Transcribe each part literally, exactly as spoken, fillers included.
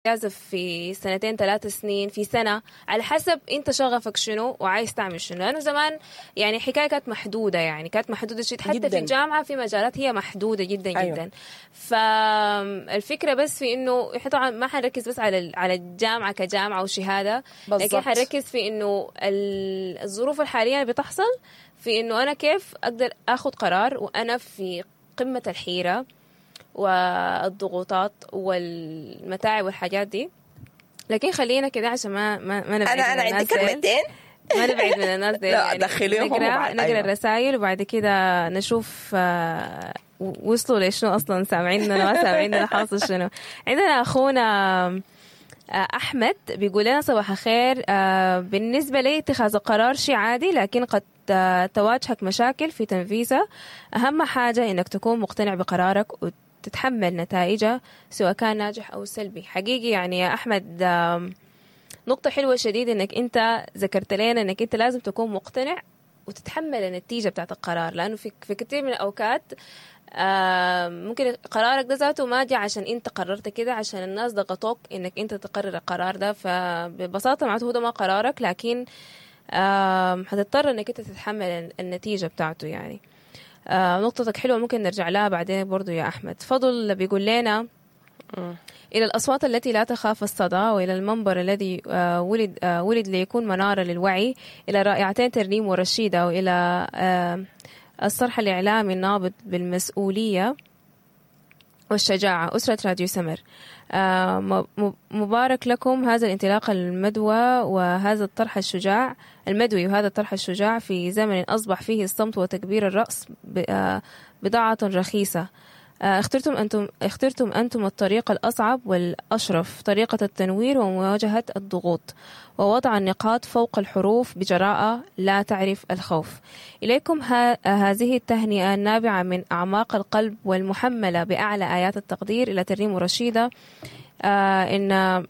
إجازة في سنتين ثلاثة سنين في سنة، على حسب انت شغفك شنو وعايز تعمل شنو. لأنه زمان يعني حكاية كانت محدودة، يعني كانت محدودة شديد، حتى في جداً. الجامعة في مجالات هي محدودة جدا. أيوة. جدا. فالفكرة بس في انه احنا طبعا ما حنركز بس على ال- على الجامعة كجامعة وشهادة، لكن بالضبط. حنركز في انه ال- الظروف الحالية اللي بتحصل في انه انا كيف اقدر اخذ قرار وانا في قمة الحيرة والضغوطات والمتاعب والحاجات دي. لكن خلينا كده عشان ما ما, ما نبعد انا من انا عندي الناس ديل. كلمتين. ما نبعد من الناس ديل. لا، يعني دخليهم نقرا وبعد- نقرا أيوة. الرسائل وبعد كده نشوف آه، وصلوا لشنو اصلا، سامعيننا ما سامعيننا، حاصل شنو. عندنا اخونا آه، احمد بيقول لنا صباح الخير. آه، بالنسبة لي اتخاذ القرار شيء عادي، لكن قد آه، تواجهك مشاكل في تنفيذه. اهم حاجة انك تكون مقتنع بقرارك وتتحمل نتائجه سواء كان ناجح او سلبي. حقيقي يعني يا احمد، آم، نقطة حلوة شديد انك انت ذكرت لنا انك انت لازم تكون مقتنع وتتحمل النتيجة بتاعت القرار، لانه في في كثير من الاوقات آه، ممكن قرارك ده ذاته ما جاء عشان انت قررت كده، عشان الناس ضغطوك انك انت تقرر القرار ده. فببساطة معناته هو ده ما قرارك، لكن آم، حتضطر انك انت تتحمل النتيجة بتاعته يعني. آه، نقطتك حلوة، ممكن نرجع لها بعدين برضو يا أحمد. فضل بيقول لنا إلى الأصوات التي لا تخاف الصدى، وإلى المنبر الذي آه، ولد آه، ولد ليكون منارة للوعي، إلى رائعتين ترنيم ورشيدة، وإلى آه، الصرح الإعلامي النابض بالمسؤولية والشجاعة أسرة راديو سمر. آه، م- م- مبارك لكم هذا الانطلاق المدوى وهذا الطرح الشجاع المدوي وهذا الطرح الشجاع في زمن أصبح فيه الصمت وتكبير الرأس ب- آه، بضاعة رخيصة. آه، اخترتم أنتم اخترتم أنتم الطريق الأصعب والأشرف، طريقة التنوير ومواجهة الضغوط ووضع النقاط فوق الحروف بجراءة لا تعرف الخوف. إليكم ها هذه التهنئة النابعة من أعماق القلب والمحملة بأعلى آيات التقدير إلى ترنيم رشيدة. آه إن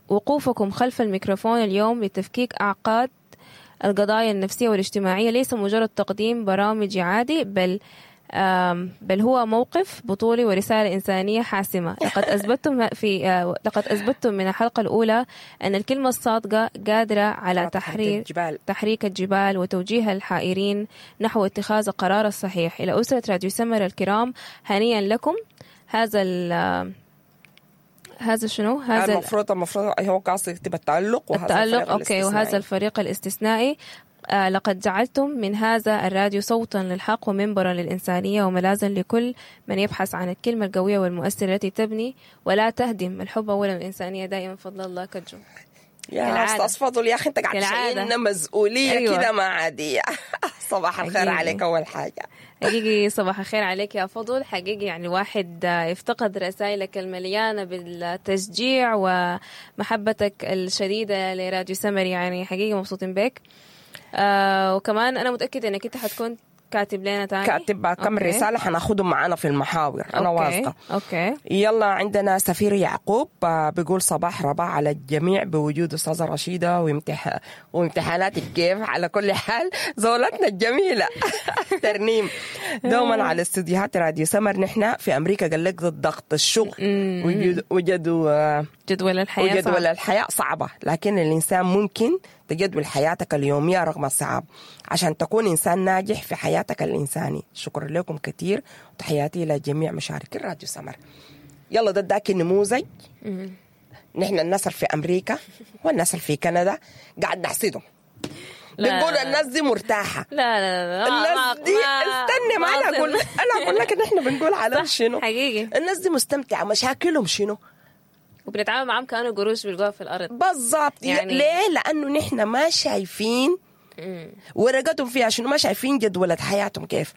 وقوفكم خلف الميكروفون اليوم لتفكيك أعقاد القضايا النفسية والاجتماعية ليس مجرد تقديم برامجي عادي، بل آم، بل هو موقف بطولي ورسالة إنسانية حاسمة. لقد أثبتتم في آه، لقد أثبتتم من الحلقة الأولى أن الكلمة الصادقة قادرة على تحرير الجبال. تحريك الجبال وتوجيه الحائرين نحو اتخاذ القرار الصحيح. إلى أسرة راديو سمر الكرام، هنيئا لكم هذا ال هذا شنو هذا ال- المفروض المفروض هو قاصد يكتب التألق وهذا التألق الفريق okay، وهذا الاستثنائي. الفريق الاستثنائي. آه لقد جعلتم من هذا الراديو صوتا للحق ومنبرا للإنسانية وملاذا لكل من يبحث عن الكلمة القوية والمؤثرة التي تبني ولا تهدم. الحب أولا والإنسانية دائما. فضل الله كجو. يا كالعادة. استاذ فضل يا اخي انت قاعد كالعادة. تشيلنا مسؤولية أيوة. كده ما عادية. صباح الخير حقيقي. عليك اول حاجة. حقيقي صباح الخير عليك يا فضل. حقيقي يعني الواحد آه، افتقد رسائلك المليانة بالتشجيع ومحبتك الشديدة لراديو سمر، يعني حقيقي مبسوطين بك. آه وكمان أنا متأكدة إنك أنت حتكون كاتب لنا تاني. كاتب كم okay. رسالة حناخدهم معانا في المحاور، انا okay. واثقة. okay. يلا عندنا سفير يعقوب آه، بيقول صباح رباح على الجميع بوجود استاذه رشيده وامتح... وامتحاناتك كيف. على كل حال زولتنا الجميلة ترنيم دوما على استديوهات راديو سمر. نحن في امريكا قال لك ضد ضغط الشغل وجد- وجدوا آه، جدول الحياة وجدول صعب. الحياة صعبة، لكن الإنسان ممكن تجدول حياتك اليومية رغم الصعاب عشان تكون إنسان ناجح في حياتك الإنساني. شكرا لكم كثير وتحياتي إلى جميع مشاركي راديو سمر. يلا ده اداك النموذج. نحن الناس اللي في أمريكا والناس اللي في كندا قاعد نحسدهم، لا. بنقول الناس دي مرتاحة. لا لا لا، ما- الناس دي ما- استني ما انا ما اقول أظن. انا اقول لك ان احنا بنقول على صح، شنو. حقيقي. الناس دي مستمتعه، مشاكلهم شنو؟ وبنتعامل معاهم كأنه قروش بيلقوها في الأرض. بالضبط. يعني- يعني ليه؟ لانه نحن ما شايفين ورقتهم فيها شنو، ما شايفين جدولة حياتهم كيف،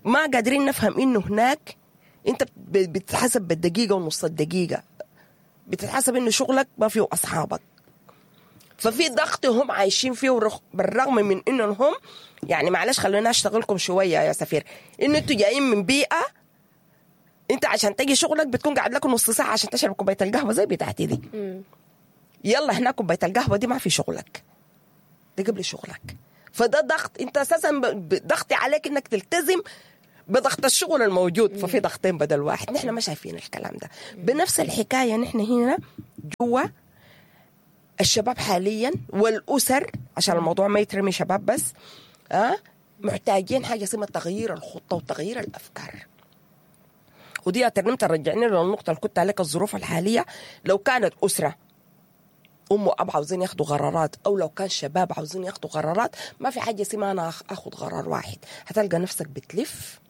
ما قادرين نفهم انه هناك انت بت- بتتحسب بالدقيقة ونص الدقيقة، بتتحسب انه شغلك ما فيه اصحابك، ففي ضغط هم عايشين فيه ورغ- بالرغم من انهم هم يعني معلش خلونا اشتغلكم شوية يا سفير، انه انتوا جايين من بيئة انت عشان تجي شغلك بتكون قاعد لك نص ساعة عشان تشرب كوباية القهوة زي بتاعتي دي. يلا هناك كوباية القهوة دي ما في شغلك، ده قبل شغلك. فده ضغط انت اساسا ب- ب- ضغط عليك انك تلتزم بضغط الشغل الموجود، ففي ضغطين بدل واحد. نحن ما شايفين الكلام ده. بنفس الحكاية نحن هنا جوا الشباب حاليا والاسر، عشان الموضوع ما يترمي شباب بس، أه محتاجين حاجة اسمها تغيير الخطة وتغيير الافكار. ودي يا ترنيم ترجعني للنقطة اللي كنت عليك، الظروف الحالية لو كانت اسره ام واب عاوزين ياخدوا قرارات، او لو كان شباب عاوزين ياخدوا قرارات، ما في حاجة اسمها انا اخد قرار واحد. هتلقى نفسك بتلف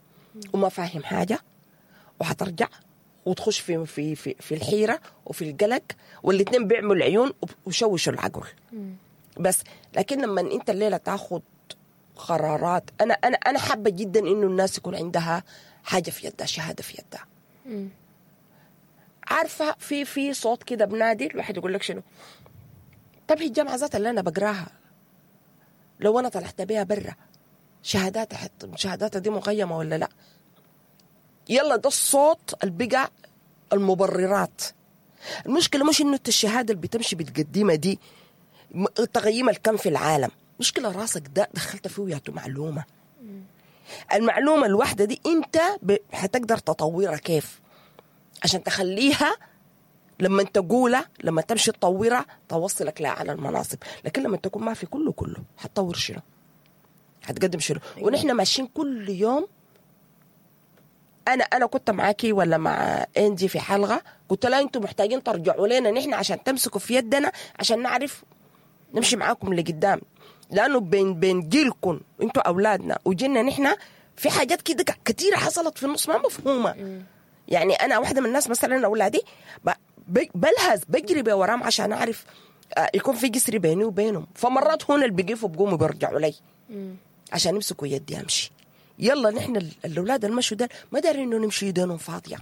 وما فاهم حاجة، وهترجع وتخش في في في, في الحيرة وفي القلق، والاثنين بيعملوا العيون وشوشوا العقل. بس لكن لما انت الليلة تاخد قرارات، انا انا انا حابة جدا انه الناس يكون عندها حاجة في يدها، شهادة في يدها. عارفه في في صوت كده بنادي الواحد يقول لك شنو؟ طب هي الجامعة ذاتها اللي انا بقراها لو انا طلعت بيها برا شهاداتها حت شهاداتها دي مقيمة ولا لا؟ يلا ده الصوت اللي بقى المبررات. المشكلة مش انه انت الشهادة اللي بتمشي بتقدمها دي تقييم الكم في العالم، مشكلة راسك ده دخلت فيه ياتو معلومة. المعلومة الواحدة دي انت حتقدر تطورها كيف عشان تخليها لما تقولها لما تمشي تطورها توصلك لاعلى المناصب. لكن لما تكون ما في كله كله حتطور شنو؟ حتقدم شنو؟ ونحن ماشيين كل يوم. انا انا كنت معاكي ولا مع انجي في حلقة قلت لها انتم محتاجين ترجعوا لنا نحن عشان تمسكوا في يدنا عشان نعرف نمشي معاكم لقدام، لانه بين بين جيلكم انتوا اولادنا وجيلنا نحن في حاجات كده كثيرة حصلت في النص ما مفهومه. يعني انا واحدة من الناس مثلا اولادي بلهز بجري بوراهم عشان اعرف يكون في جسر بيني وبينهم، فمرات هون اللي بيقفوا بقوموا بيرجعوا لي عشان يمسكوا يدي امشي. يلا نحن الاولاد المشوا ده ما دارين انه نمشي يدينهم فاضية،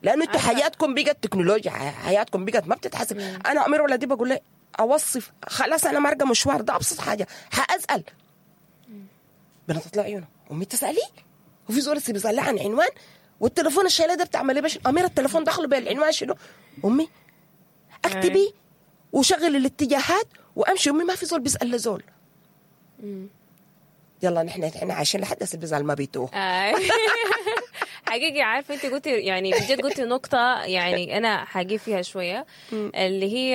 لانه انتوا حياتكم بقت تكنولوجيا، حياتكم بقت ما بتتحسب. مم. انا امير ولدي بقول له اوصف خلاص انا مارقه مشوار ده ابسط حاجة حاسال، بنطلع عيونه امي تسالي وفي زول بيسالها عن عنوان والتليفون الشايله ده بتعمل ايه؟ باش امير التليفون دخله بالعنوان شنو؟ امي اكتبي وشغل الاتجاهات وامشي. امي ما في زول بيسال لزول. يلا نحن نحن عايشين لحد هسه بيزعل ما بيتوه. حقيقي عارفه انت قلتي يعني بجد قلتي نقطة يعني انا حاجي فيها شوية، اللي هي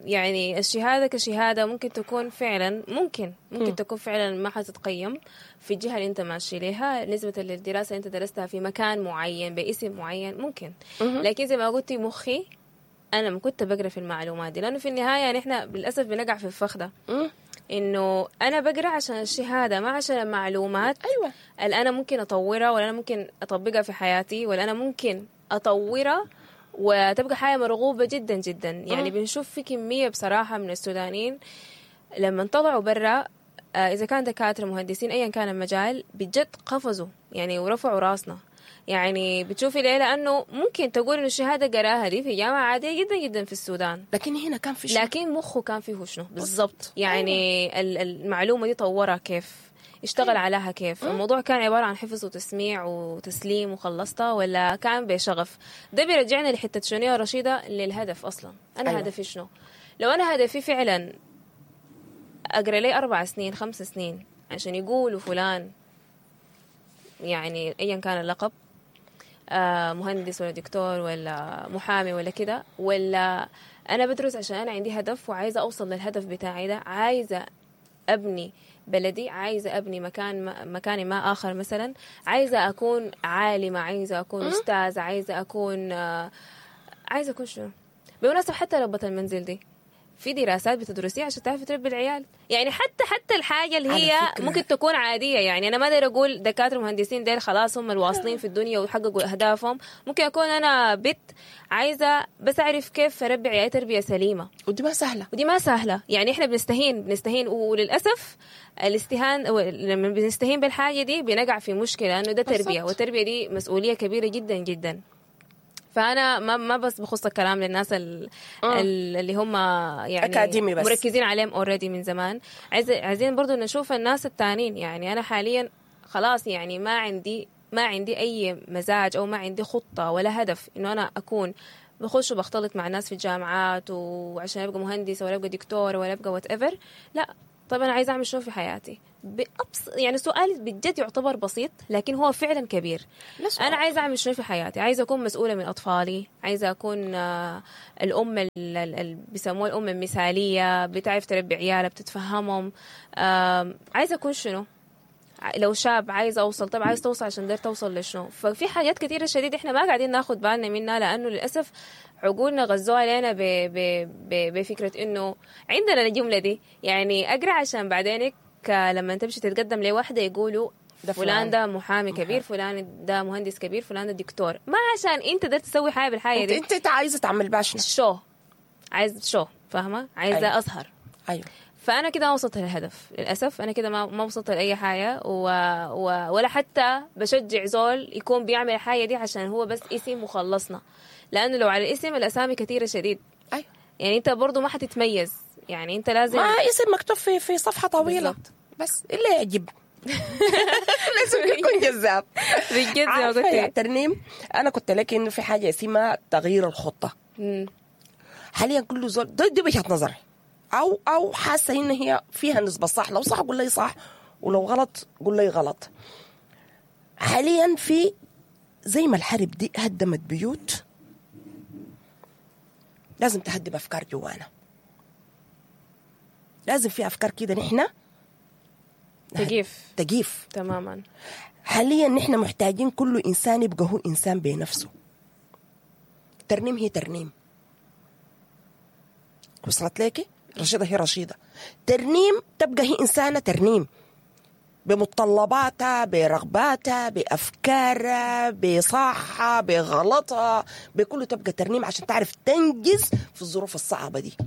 يعني الشهادة كشهاده ممكن تكون فعلا ممكن ممكن تكون فعلا ما حتتقيم في الجهة اللي انت ماشي ليها نسبه للدراسة اللي انت درستها في مكان معين باسم معين ممكن، لكن زي ما قلتي مخي انا ما كنت بقرا في المعلومات دي، لانه في النهاية نحن للاسف بنقع في الفخ ده انه انا بقرا عشان الشهادة ما عشان المعلومات. ايوه اللي انا ممكن اطورها ولا انا ممكن اطبقها في حياتي ولا انا ممكن اطورها وتبقى حاجة مرغوبة جدا جدا. يعني بنشوف في كمية بصراحة من السودانيين لما طلعوا برا اذا كان دكاترة مهندسين ايا كان المجال بجد قفزوا يعني ورفعوا راسنا. يعني بتشوفي ليه؟ لأنه ممكن تقول إنه الشهادة قراها دي في جامعة عادية جدا جدا في السودان، لكن هنا كان في شنو؟ لكن مخه كان فيه شنو بالضبط؟ يعني المعلومة دي طورها كيف، اشتغل أيوة. عليها كيف. الموضوع كان عبارة عن حفظ وتسميع وتسليم وخلصتها، ولا كان بشغف؟ ده بيرجعنا لحتة شنو يا رشيدة؟ للهدف أصلا. أنا أيوة. هدفي شنو؟ لو أنا هدفي فعلا أقرأ لي أربع سنين خمس سنين عشان يقولوا فلان يعني أيا كان اللقب مهندس ولا دكتور ولا محامي ولا كده، ولا أنا بدرس عشان أنا عندي هدف وعايزة أوصل للهدف بتاعي ده، عايزة أبني بلدي، عايزة أبني مكان مكاني ما آخر مثلا، عايزة أكون عالمة، عايزة أكون أستاذ، عايزة أكون عايزة أكون شنو؟ بالمناسبة حتى ربة المنزل دي في دراسات بتدرسيها عشان تعرفي تربي العيال. يعني حتى حتى الحاجة اللي هي ممكن تكون عادية، يعني أنا ما أقدر أقول دكاترة مهندسين ديل خلاص هم الواصلين في الدنيا وحققوا أهدافهم. ممكن أكون أنا بنت عايزة بس أعرف كيف أربي عيالي تربية سليمة، ودي ما سهلة، ودي ما سهلة. يعني إحنا بنستهين بنستهين وللأسف الاستهان لما بنستهين بالحاجة دي بنقع في مشكلة، لأنه ده تربية، والتربية دي مسؤولية كبيرة جدا جدا. فأنا ما ما بس بخص الكلام للناس ال اللي هم يعني أكاديمي بس مركزين عليهم already من زمان. عايز عايزين برضو نشوف الناس التانين. يعني أنا حاليا خلاص يعني ما عندي ما عندي أي مزاج أو ما عندي خطة ولا هدف إنه أنا أكون بخش وبختلط مع الناس في الجامعات وعشان أبقى مهندس ولا أبقى دكتور ولا أبقى whatever. لا، طيب انا عايزه اعمل شنو في حياتي؟ بأبس يعني سؤال بجد يعتبر بسيط لكن هو فعلا كبير. لا سؤال. انا عايزه اعمل شنو في حياتي؟ عايزه اكون مسؤولة من اطفالي، عايزه اكون آه، الام اللي بيسموها الام المثالية، بتعرف تربي عيالها، بتتفهمهم. آم، عايزه اكون شنو؟ ع- لو شاب عايز اوصل، طب عايز توصل عشان داير توصل لشنو؟ ففي حاجات كثيرة شديد احنا ما قاعدين ناخد بالنا منها، لانه للاسف عقولنا غزوها علينا ب... ب... ب... بفكره انه عندنا الجملة دي، يعني اقرا عشان بعدينك لما تمشي تتقدم لواحدة يقولوا ده فلان فلان. ده محامي كبير، فلان ده مهندس كبير، فلان ده دكتور. ما عشان انت قدرت تسوي حاجة بالحاجة انت دي. انت, انت عايزه تعمل بها شنو؟ شو عايز شو فاهمه؟ عايزه أيوة. اظهر. ايوه. فانا كده ما وصلت للهدف للاسف، انا كده ما ما وصلت لاي حاجة، و... و... ولا حتى بشجع زول يكون بيعمل الحاجة دي عشان هو بس اسم وخلصنا، لانه لو على الاسم الاسامي كثيرة شديد. ايوه يعني انت برضو ما حتتميز، يعني انت لازم ما اسم مكتوب في في صفحة طويلة بالضبط. بس الا يعجب. لازم يكون جذاب. بجد زي ما عارفة يا قلت. ترنيم، انا كنت لك انه في حاجة اسمها تغيير الخطة. مم. حاليا كل زول دي, دي وجهه نظري، او او حاسه ان هي فيها نسبه صح، لو صح قول لي صح، ولو غلط قول لي غلط. حاليا في زي ما الحرب دي هدمت بيوت، لازم تهدم افكار جوانا. لازم في افكار كده نحن تجيف تجيف تماما. حاليا نحن محتاجين كل انسان يبقى هو انسان بنفسه. ترنيم هي ترنيم، وصلت ليكي؟ رشيدة هي رشيدة. ترنيم تبقى هي إنسانة ترنيم بمتطلباتها، برغباتها، بأفكارها، بصحها، بغلطها، بكله تبقى ترنيم عشان تعرف تنجز في الظروف الصعبة دي.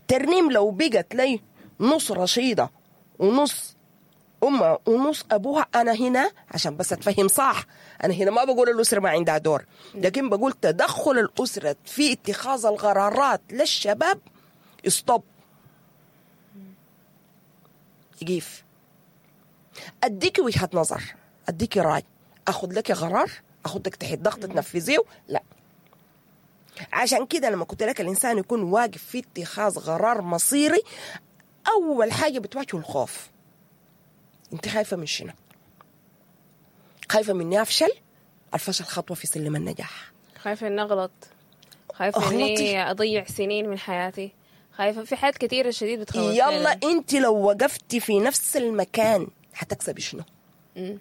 ترنيم لو بقت لي نص رشيدة ونص أمها ونص أبوها، أنا هنا عشان بس أتفهم صح، أنا هنا ما بقول الأسرة ما عندها دور، لكن بقول تدخل الأسرة في اتخاذ القرارات للشباب stop، يقيف. أديكي وجهة نظر، أديكي رأي، أخذ لك قرار، أخذك تحت ضغط تنفذيه، لا. عشان كده لما كنت لك الإنسان يكون واقف في اتخاذ قرار مصيري، أول حاجة بتواجهه الخوف. انت خايفة من شنو؟ خايفة مني أفشل؟ الفشل خطوة في سلم النجاح. خايفة اني اغلط، خايفة أغلطي. اني اضيع سنين من حياتي، خايفة في حاجات كثيرة شديد بتخوف. يلا انت لو وقفتي في نفس المكان هتكسبي شنو؟ مم.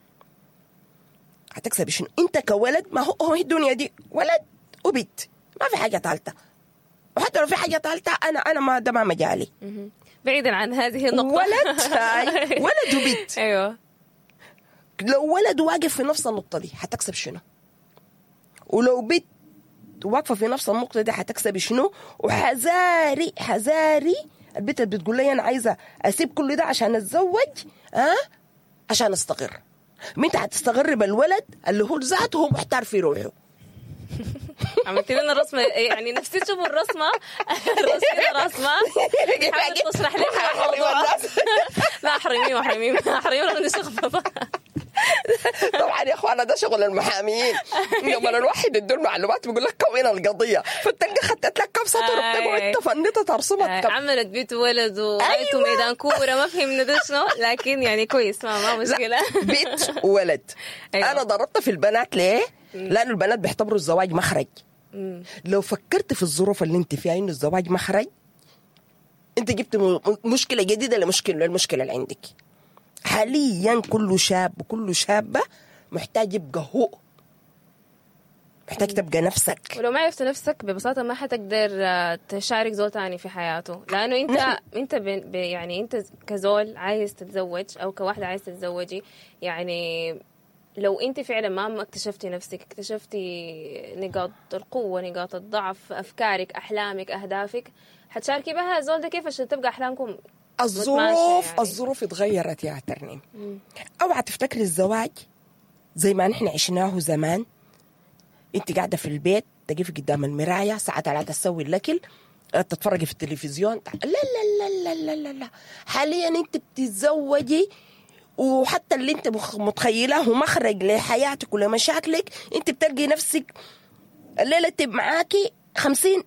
هتكسبي شنو؟ انت كولد، ما هو هو الدنيا دي ولد وبنت، ما في حاجة ثالثة، وحتى لو في حاجة ثالثة انا انا ما ده ما مجالي. مهم. بعيدا عن هذه النقطة. ولد هاي، ولد وبنت. ايوه لو ولد واقف في نفس النقطة دي هتكسب شنو؟ ولو بنت واقفة في نفس النقطة دي هتكسبي شنو؟ وحذاري حذاري البنت اللي بتقول لي أنا عايزة أسيب كل ده عشان أتزوج، أه؟ عشان أستقر. ما أنت هتستقر بالولد اللي هو ذاته هو محتار في روحه. عملت لنا الرسمة، يعني نفسي تشوفوا الرسمة. رسمنا رسمه حاول تشرح لنا الموضوع. لا احرميه احرميه احرميه من الشخبطه. طبعا يا اخوانا ده شغل المحاميين، لما الواحد يدور معلومات بيقول لك كون القضية، فتلقى خدت لك كم سطر وبتقعد تفنطها ترسمها كم. عملت بيت ولد وغايته ميدان كورة، ما فهمنا ده شنو، لكن يعني كويس، ما ما مشكلة. بيت ولد. أيوة. انا ضربت في البنات ليه؟ لانه البنات بيعتبروا الزواج مخرج. لو فكرت في الظروف اللي انت فيها انه الزواج مخرج، انت جبت م- مشكلة جديدة لمشكلة للمشكلة اللي عندك. حاليا كل شاب وكل شابه محتاج يبقى هو، محتاج تبقى نفسك. ولو ما عرفت نفسك ببساطة ما حتقدر آه، تشارك زول تاني في حياته، لأنه أنت نعم. أنت ب... ب... يعني أنت كزول عايز تتزوج أو كواحدة عايز تتزوجي، يعني لو أنت فعلا ما ما اكتشفتي نفسك، اكتشفتي نقاط القوة، نقاط الضعف، أفكارك، أحلامك، أهدافك، حتشاركي بها الزول ده كيف عشان تبقى أحلامكم الظروف يعني. الظروف اتغيرت يا ترنيم. اوعى تفتكري الزواج زي ما نحن عشناه زمان، انت قاعدة في البيت تقفي قدام المراية الساعة ثلاثة تسوي الاكل، تتفرجي في التلفزيون. لا لا لا لا لا لا, لا. حاليا انت بتتزوجي، وحتى اللي انت مخ- متخيلاه مخرج لحياتك ولمشاكلك، انت بتلقي نفسك الليلة تب معاكي خمسين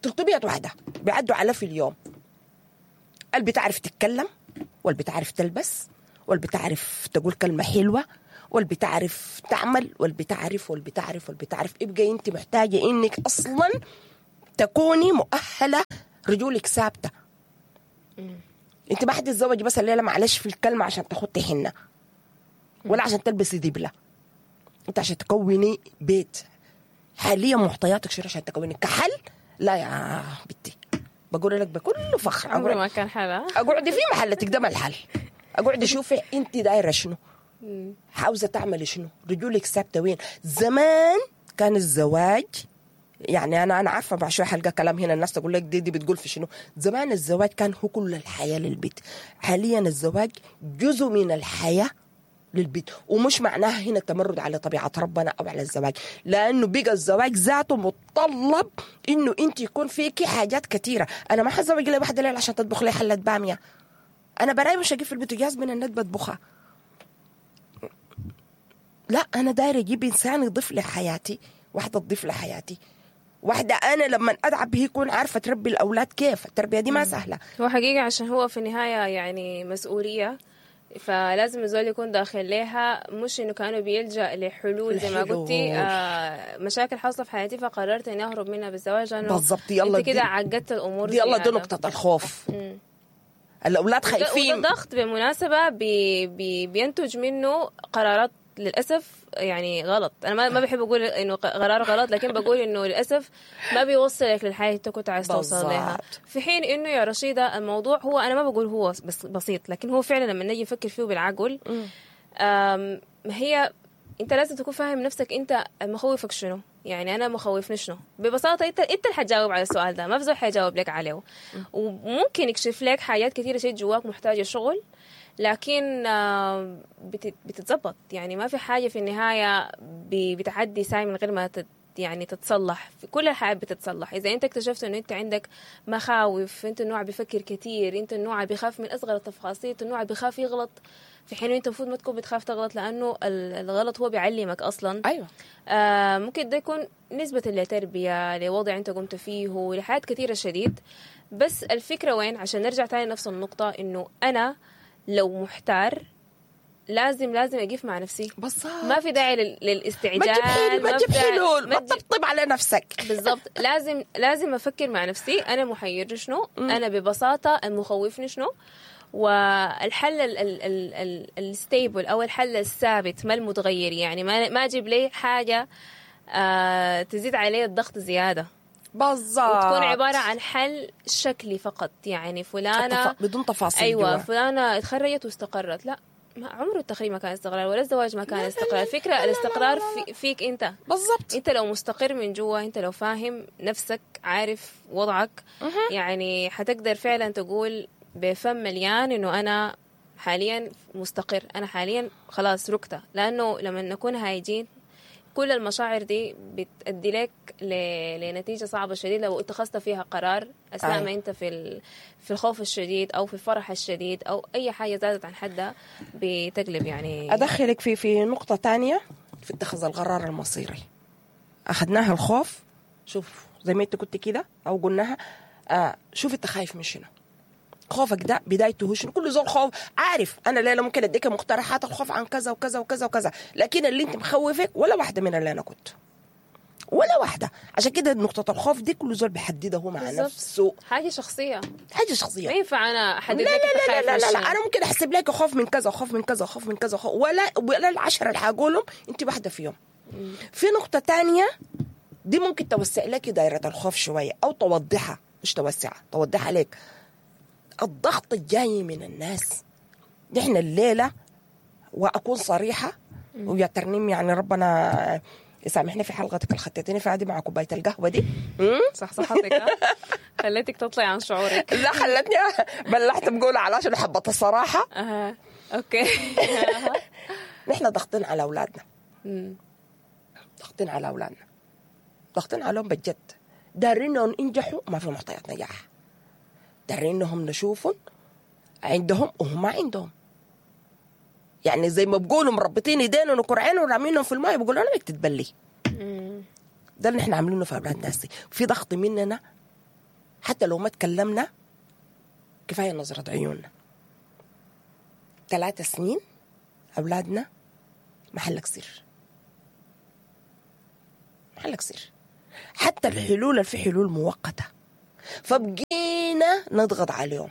ثلاثمية واحدة بيعدوا على في اليوم. اللي بتعرف تتكلم واللي بتعرف تلبس، واللي بتعرف تقول كلمة حلوة، واللي بتعرف تعمل، واللي بتعرف واللي بتعرف واللي بتعرف. يبقى انت محتاجه انك اصلا تكوني مؤهلة، رجولك ثابتة. انت ما حتتزوجي بس الليلة معلش في الكلمة عشان تخطي حنة ولا عشان تلبسي دبله، انت عشان تكوني بيت. حاليا معطياتك شنو عشان تكوني كحل؟ لا يا بنتي، بقول لك بكل فخر، عمره ما كان حل. اقعدي في محلتك ده ما الحل. اقعدي شوفي انت دايرة شنو، عاوزه تعملي شنو، رجولك ثابتة وين. زمان كان الزواج يعني انا انا عارفه بعد شوية حلقة كلام هنا الناس تقول لك دي دي بتقول في شنو. زمان الزواج كان هو كل الحياة للبيت، حاليا الزواج جزء من الحياة للبيت. ومش معناها هنا تمرد على طبيعة ربنا او على الزواج، لانه بقى الزواج ذاته متطلب انه انت يكون فيكي حاجات كثيرة. انا ما حتزوج لي واحدة ليلة عشان تطبخ لي حله باميه، انا براي مش اجيب في البوتاجاز من النت بطبخها. لا، انا دايرة اجيب انسان يضيف لحياتي، واحدة تضيف لحياتي، واحدة انا لما اتعب هي يكون عارفه تربي الاولاد كيف. التربية دي ما سهلة، هو حقيقة عشان هو في النهاية يعني مسؤولية، فلازم الزول يكون داخل لها، مش انه كانوا بيلجأ لحلول زي ما قلتي، آه مشاكل حاصله في حياتي فقررت اني اهرب منها بالزواج. بالضبط، يلا انت كده عقدت الامور دي. يلا دي نقطة الخوف. مم. الاولاد خايفين، وده ضغط بالمناسبة بي بي بينتج منه قرارات للاسف يعني غلط. انا ما ما بحب اقول انه قرار غلط، لكن بقول انه للاسف ما بيوصلك للحياة اللي كنت عايز توصل لها. في حين انه يا رشيده الموضوع هو انا ما بقول هو بس بسيط، لكن هو فعلا لما نجي نفكر فيه بالعقل، هي انت لازم تكون فاهم نفسك انت مخوفك شنو. يعني انا مخوفني شنو ببساطة، انت انت اللي حتجاوب على السؤال ده، ما في زول حيجاوب لك عليه. وممكن يكشف لك حاجات كثيرة شيء جواك محتاجه شغل، لكن بتتزبط. يعني ما في حاجة في النهاية بتعدي ساي من غير ما تت يعني تتصلح. في كل الحياة بتتصلح. إذا أنت اكتشفت إنه أنت عندك مخاوف، أنت النوع بيفكر كتير، أنت النوع بيخاف من أصغر التفاصيل، أنت النوع بيخاف يغلط، في حين أنت المفروض ما تكون بتخاف تغلط، لأنه الغلط هو بيعلمك أصلا. أيوة. آه ممكن ده يكون نسبة لتربية، لوضع أنت قمت فيه، لحاجات كثيرة شديد. بس الفكرة وين، عشان نرجع تاني نفس النقطة، إنه أنا لو محتار لازم لازم أقف مع نفسي. بالضبط. ما في داعي للاستعجال، ما تجيب حلول، ما تجيب حلول، ما تطبطب على نفسك. بالضبط، لازم لازم أفكر مع نفسي أنا محير شنو، أنا ببساطة المخوفني شنو، والحل ال ال ال ال ال stable أو الحل الثابت ما المتغير. يعني ما ما أجيب لي حاجة آه تزيد عليه الضغط زيادة. بالضبط. وتكون عبارة عن حل شكلي فقط. يعني فلانة التف... بدون تفاصيل. أيوة جوا. فلانة اتخرجت واستقرت، لا، ما عمره التخريج ما كان استقرار، ولا الزواج ما كان استقرار. الفكرة الاستقرار في فيك أنت. بالضبط. أنت لو مستقر من جوا، أنت لو فاهم نفسك، عارف وضعك، يعني حتقدر فعلا تقول بفم مليان إنه أنا حاليا مستقر، أنا حاليا خلاص ركتة. لأنه لما نكون هايجين كل المشاعر دي بتأدي لك لنتيجة صعبة شديدة لو اتخذت فيها قرار أثناء ما أنت في في الخوف الشديد أو في الفرح الشديد أو أي حاجة زادت عن حدها بتقلب. يعني أدخلك في في نقطة تانية في اتخاذ القرار المصيري. أخذناها الخوف، شوف زي ما أنت كنت كده أو قلناها، آه شوف أنت خايف من شنو، خوفك ده بدايته شنو. كل زول خوف عارف. انا ليلى ممكن اديك مقترحات الخوف عن كذا وكذا وكذا وكذا، لكن اللي انت مخوفك ولا واحدة من اللي انا كنت، ولا واحدة. عشان كده نقطة الخوف دي كل زول بيحددها هو مع بالزبط. نفسه، حاجة شخصية، حاجة شخصية. ما ينفع انا احدد لا لك لا لا لا, لا, لا, لا. انا ممكن احسب لك خوف من كذا وخوف من كذا وخوف من كذا وخوف، ولا ولا العشرة اللي حقولهم انت واحدة فيهم. مم. في نقطة تانية دي ممكن توسع لك دائرة الخوف شوية او توضحها، مش توسعها، توضحها لك. الضغط الجاي من الناس. نحن الليلة، وأكون صريحة ويا ترنيم، يعني ربنا يسامحني في حلقتك اللي خطيتني فيها دي مع كوباية القهوة دي. صح صحتك خليتك تطلعي عن شعورك. لا خلتني بلحت بقول على عشان حبة الصراحة. أها okay. نحن ضاغطين على أولادنا، ضاغطين على أولادنا، ضاغطين عليهم بجد. دارين ينجحوا ما في معطيات نجاح، دارين انهم نشوفهم عندهم وهم ما عندهم. يعني زي ما بقولوا مربطين ايدينهم وكرعينهم ورامينهم في الماء، بيقولوا انا بدك تتبلي. ده اللي احنا عاملينه في اولاد ناس. في ضغط مننا حتى لو ما تكلمنا، كفاية نظره عيوننا. ثلاث سنين اولادنا محلك سر، محلك سر. حتى الحلول اللي في حلول مؤقتة، فبقينا نضغط عليهم.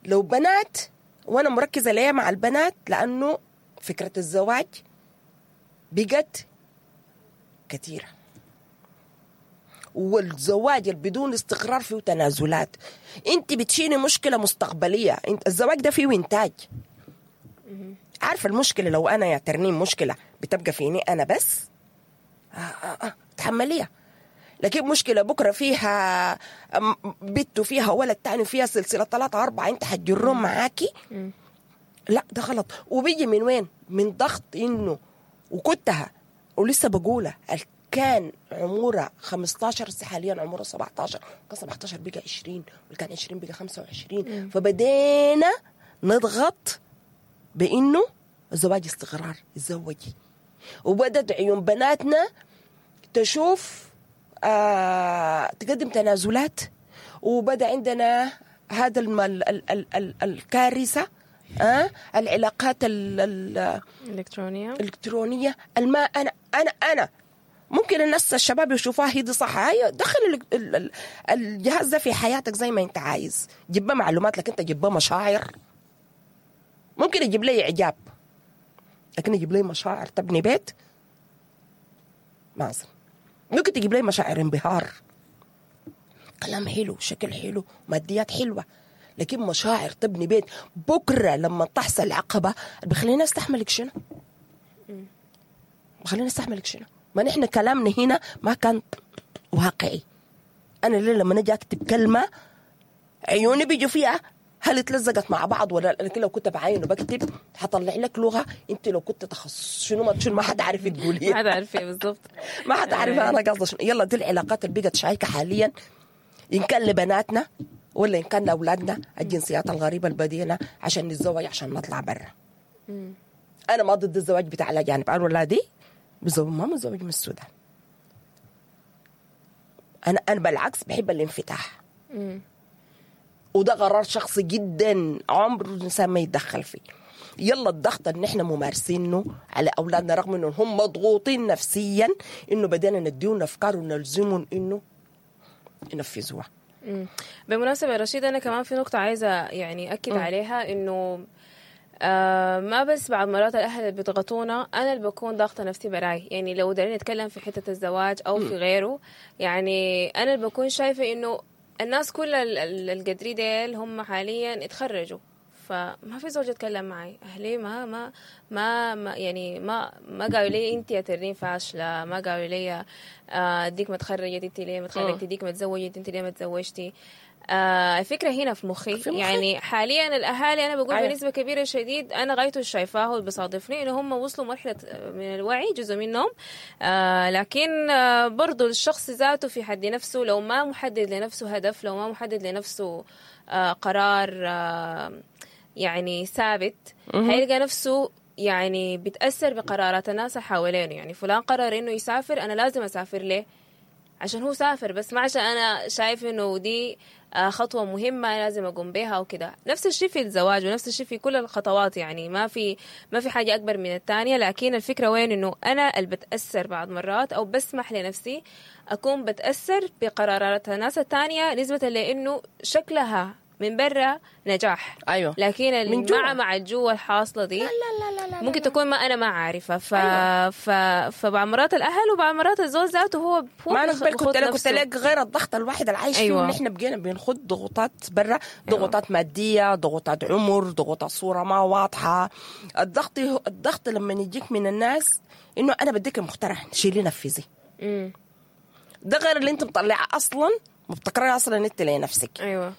لو بنات، وانا مركزه ليه مع البنات؟ لانه فكرة الزواج بقت كثيرة، والزواج اللي بدون استقرار فيه تنازلات. انت بتشيلي مشكلة مستقبلية، انت الزواج ده فيه انتاج. عارفه المشكلة لو انا يا ترنيم مشكلة بتبقى فيني انا بس، آه آه آه تحمليها. لكن مشكلة بكره فيها بنت وفيها ولد تاني فيها سلسلة ثلاثة اربعة انت حتجرهم معاكي، لا ده غلط. وبيجي من وين؟ من ضغط انه، وكنتها ولسه بقولها، كان عمرها خمستاشر حاليا عمرها سبعتاشر، كان سبعتاشر بقى عشرين، وكان عشرين بقى خمسة وعشرين. فبدينا نضغط بانه الزواج استقرار، تزوجي. وبدت عيون بناتنا تشوف آه تقدم تنازلات، وبدا عندنا هذا الم- ال ال ال ال الكارثة، آه العلاقات ال ال الكترونية الالكترونية. الماء انا انا انا ممكن الناس الشباب يشوفوها هي دي صح، هي دخل ال ال ال الجهاز ده في حياتك زي ما انت عايز، جيب بها معلومات، لكن انت جيب بها مشاعر. ممكن يجيب لي اعجاب، لكن يجيب لي مشاعر تبني بيت ما اظن. ممكن تجيب لي مشاعر انبهار، كلام حلو، شكل حلو، ماديات حلوة، لكن مشاعر تبني بيت بكره لما تحصل عقبه بخلينا استحملك شنو؟ بخلينا استحملك شنو؟ ما نحن كلامنا هنا ما كان واقعي. انا ليه لما نجي اكتب كلمة عيوني بيجوا فيها هل اتلزقت مع بعض ولا لا؟ لكن لو كنت بعاين وبكتب حطلع لك لغة انت لو كنت تخصص شنو ما شنو ما حد عارف تقولي، ما حد عارف ايه بالضبط، ما حد عارف انا قصدي شنو. يلا دي العلاقات اللي بقت شايكه حاليا، ان كان لبناتنا ولا ان كان لاولادنا، الجنسيات الغريبة البدينه عشان نتزوج عشان نطلع برا. انا ما ضد الزواج بتاع الاجانب، انا ولادي بزوج ما متزوج من السودان. انا انا بالعكس بحب الانفتاح، وده قرار شخصي جدا عمر الانسان ما يتدخل فيه. يلا الضغط اللي احنا ممارسينه على اولادنا رغم انهم هم مضغوطين نفسيا، انه بدينا نديهم افكار ونلزمهم انه ينفذوها. بالمناسبة يا رشيد، انا كمان في نقطة عايزه يعني اكد عليها، انه آه ما بس بعض مرات الاهل اللي بيضغطونا، انا اللي بكون ضاغطة نفسي براي. يعني لو دارين نتكلم في حتة الزواج او في غيره، يعني انا اللي بكون شايفه انه الناس كل القدري ديل هم حاليا اتخرجوا، فما في زوج يتكلم معي. اهلي ما ما ما, ما يعني ما ما قالوا لي انت يا ترين فاشلة، ما قالوا لي آه ديك ما تخرجت انت ليه ما تخرجتي، ديك ما تزوجت انت ليه ما تزوجتي. آه الفكرة هنا في مخي. في مخي يعني حاليا الاهالي انا بقول أيوة. بنسبة كبيرة شديد انا غايته شايفاه واللي بيصادفني انه هم وصلوا مرحلة من الوعي جزء منهم، آه لكن آه برضو الشخص ذاته في حد نفسه لو ما محدد لنفسه هدف، لو ما محدد لنفسه آه قرار آه يعني ثابت، هيلقى نفسه يعني بتأثر بقرارات الناس حوالينه. يعني فلان قرر انه يسافر، انا لازم اسافر ليه؟ عشان هو سافر، بس ما عشان انا شايف انه دي خطوة مهمة لازم اقوم بها وكده. نفس الشيء في الزواج ونفس الشيء في كل الخطوات، يعني ما في ما في حاجة اكبر من الثانية. لكن الفكرة وين؟ انه انا اللي بتأثر بعض مرات او بسمح لنفسي اكون بتأثر بقرارات الناس الثانية نسبة لانه شكلها من برا نجاح، ايوه، لكن من مع مع الجوة الحاصلة دي لا لا لا لا ممكن لا. تكون ما انا ما عارفه. ف أيوة. ف فبعض مرات الاهل وبعض مرات الزوج ذاته هو هو ما انا قبل كنت لك كنت لك غير الضغط الواحد العايش أيوة. فيه، ونحن بقينا بنخد ضغوطات برا، ضغوطات أيوة. مادية، ضغوطات عمر، ضغوطات صوره ما واضحة. الضغط الضغط لما يجيك من الناس انه انا بديك مقترح شيلي نفذي، ده غير اللي انت مطلعه اصلا مبتكره اصلا انت لنفسك. ايوه.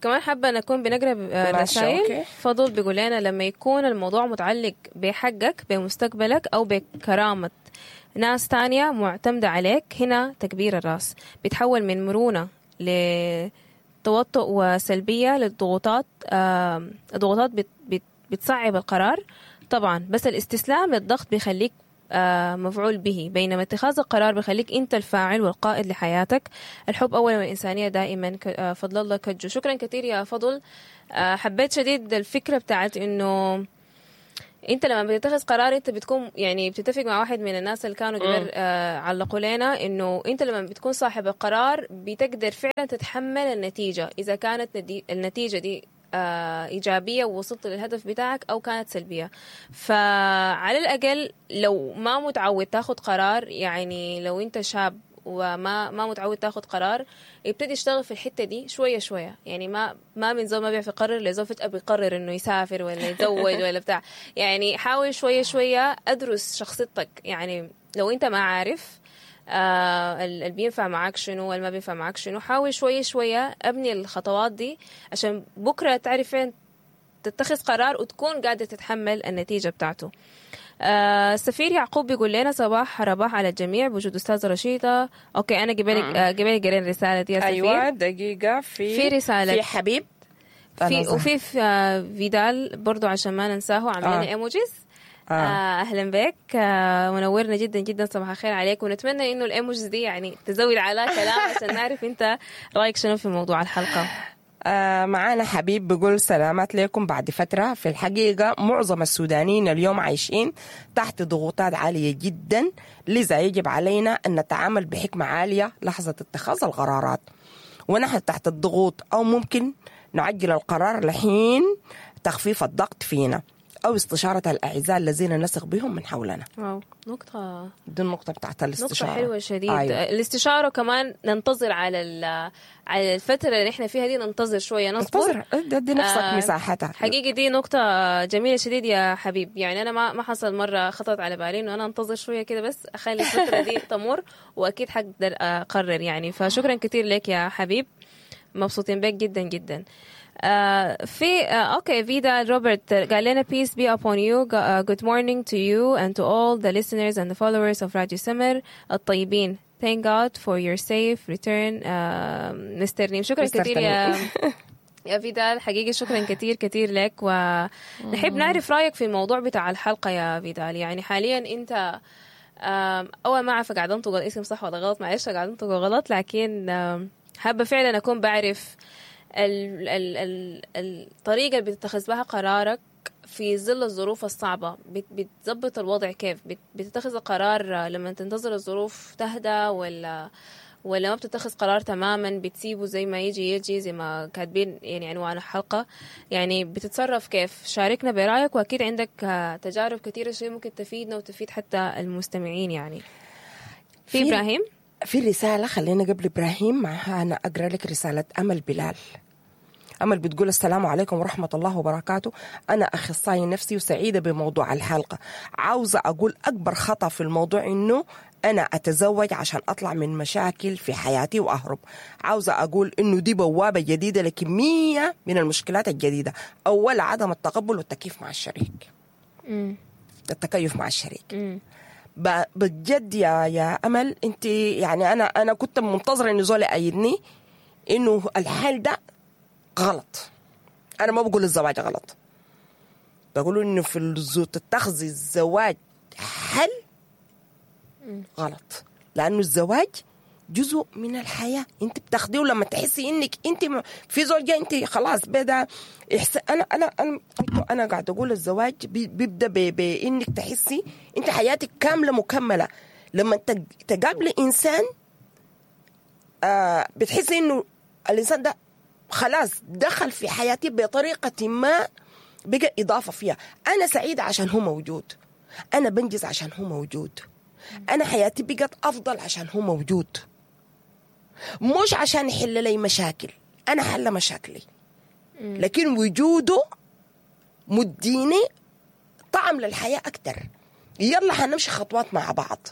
كمان حابة نكون بنقرأ رسائل. فضل بيقول لنا لما يكون الموضوع متعلق بحقك، بمستقبلك، أو بكرامة ناس تانية معتمدة عليك، هنا تكبير الراس بيتحول من مرونة لتوتر وسلبية للضغوطات. الضغوطات بت بت بتصعب القرار طبعا، بس الاستسلام للضغط بيخليك آه، مفعول به، بينما اتخاذ القرار بخليك انت الفاعل والقائد لحياتك. الحب اولا والانسانية دائما. ك- آه، فضل الله كجو. شكرا كثير يا فضل. آه، حبيت شديد الفكرة بتاعت انه انت لما بتتخذ قرار انت بتكون يعني بتتفق مع واحد من الناس اللي كانوا قبل آه علقوا لنا انه انت لما بتكون صاحب القرار بتقدر فعلا تتحمل النتيجة، اذا كانت ندي النتيجة دي آه ايجابية ووصلت للهدف بتاعك او كانت سلبية. فعلى الاقل لو ما متعود تاخد قرار، يعني لو انت شاب وما ما متعود تاخد قرار، ابتدي اشتغل في الحتة دي شوية شوية. يعني ما ما من زول ما بيعرف يقرر لزول فجاة بيقرر انه يسافر ولا يتزوج ولا بتاع. يعني حاول شوية شوية، ادرس شخصيتك. يعني لو انت ما عارف آه اللي بينفع معاك شنو والما بينفع معاك شنو، حاول شوية شوية ابني الخطوات دي عشان بكره تعرف فين تتخذ قرار وتكون قادر تتحمل النتيجة بتاعته. آه السفير يعقوب بيقول لنا صباح رباح على الجميع بوجود استاذه رشيده. okay، انا قبل آه قبل قرينا الرسالة دي يا سفير. ايوه دقيقة، في في رسالة في حبيب في وفي في آه فيدال برضو عشان ما ننساه عاملين آه. emojis. آه. آه اهلا بك، آه منورنا جدا جدا، صباح الخير عليك، ونتمنى انه ال emojis دي يعني تزود على كلام عشان نعرف انت رايك شنو في موضوع الحلقة. آه معانا حبيب بيقول سلامات لكم بعد فترة. في الحقيقة معظم السودانيين اليوم عايشين تحت ضغوطات عالية جدا، لذا يجب علينا أن نتعامل بحكمة عالية لحظة اتخاذ القرارات ونحن تحت الضغوط، أو ممكن نعجل القرار لحين تخفيف الضغط فينا أو استشارة الأعزاء الذين نثق بهم من حولنا. wow، نقطة، دي النقطة بتاعت الاستشارة، نقطة حلوة شديد. أيوة. الاستشارة كمان ننتظر على على الفترة اللي احنا فيها دي، ننتظر شوية، نصبر، انتظر، ادي نفسك آه مساحتها. حقيقي دي نقطة جميلة شديد يا حبيب. يعني أنا ما ما حصل مرة خطرت على بالي إنه أنا أنتظر شوية كده، بس أخلي الفترة دي تمر وأكيد حقدر أقرر يعني. فشكرا كثير لك يا حبيب، مبسوطين بك جدا جدا. آه في آه okay، فيدا روبرت قال لنا peace be upon you، uh, good morning to you and to all the listeners and the followers of Radio Summer الطيبين، thank God for your safe return uh, مستر نيم. شكرا كثير يا يا فيدال، حقيقي شكرا كثير كثير لك، ونحب نعرف رايك في الموضوع بتاع الحلقة يا فيدال. يعني حاليا انت اول ما اعرف قاعد انطق الاسم صح ولا غلط، معلش قاعد انطقه غلط، لكن حابة فعلا اكون بعرف ال ال ال الطريقة اللي بتتخذ بها قرارك في ظل الظروف الصعبة، بتظبط الوضع كيف؟ بتتخذ القرار لما تنتظر الظروف تهدى، ولا ولا ما بتتخذ قرار تماما، بتسيبه زي ما يجي يجي زي ما كاتبين يعني عنوان الحلقة؟ يعني بتتصرف كيف؟ شاركنا برأيك، وأكيد عندك تجارب كثيرة شيء ممكن تفيدنا وتفيد حتى المستمعين. يعني في إبراهيم في رسالة، خلينا قبل إبراهيم معها أنا أقرأ لك رسالة أمل بلال. أمل بتقول السلام عليكم ورحمة الله وبركاته، أنا أخصائي نفسي وسعيدة بموضوع الحلقة. عاوزة أقول أكبر خطأ في الموضوع إنه أنا أتزوج عشان أطلع من مشاكل في حياتي وأهرب. عاوزة أقول إنه دي بوابة جديدة لكمية من المشكلات الجديدة. أول عدم التقبل والتكيف مع الشريك، مم. التكيف مع الشريك. مم. بجد يا يا امل، انت يعني انا انا كنت منتظره انه زول يأيدني انه الحال ده غلط. انا ما بقول الزواج غلط، بقول انه في الزو تتخذ الزواج حل غلط، لانه الزواج جزء من الحياة، انت بتاخديه لما تحسي انك انت في زول جاي انت خلاص بدا إحس... انا انا انا انا قاعد اقول الزواج بيبدا بانك تحسي انت حياتك كاملة مكملة. لما تقابلي انسان آه بتحسي انه الانسان ده خلاص دخل في حياتي بطريقة ما، بقى اضافه فيها. انا سعيدة عشان هو موجود، انا بنجز عشان هو موجود، انا حياتي بقت افضل عشان هو موجود، مش عشان يحل لي مشاكل، أنا حل مشاكلي، لكن وجوده مديني طعم للحياة أكتر. يلا حنمشي خطوات مع بعض،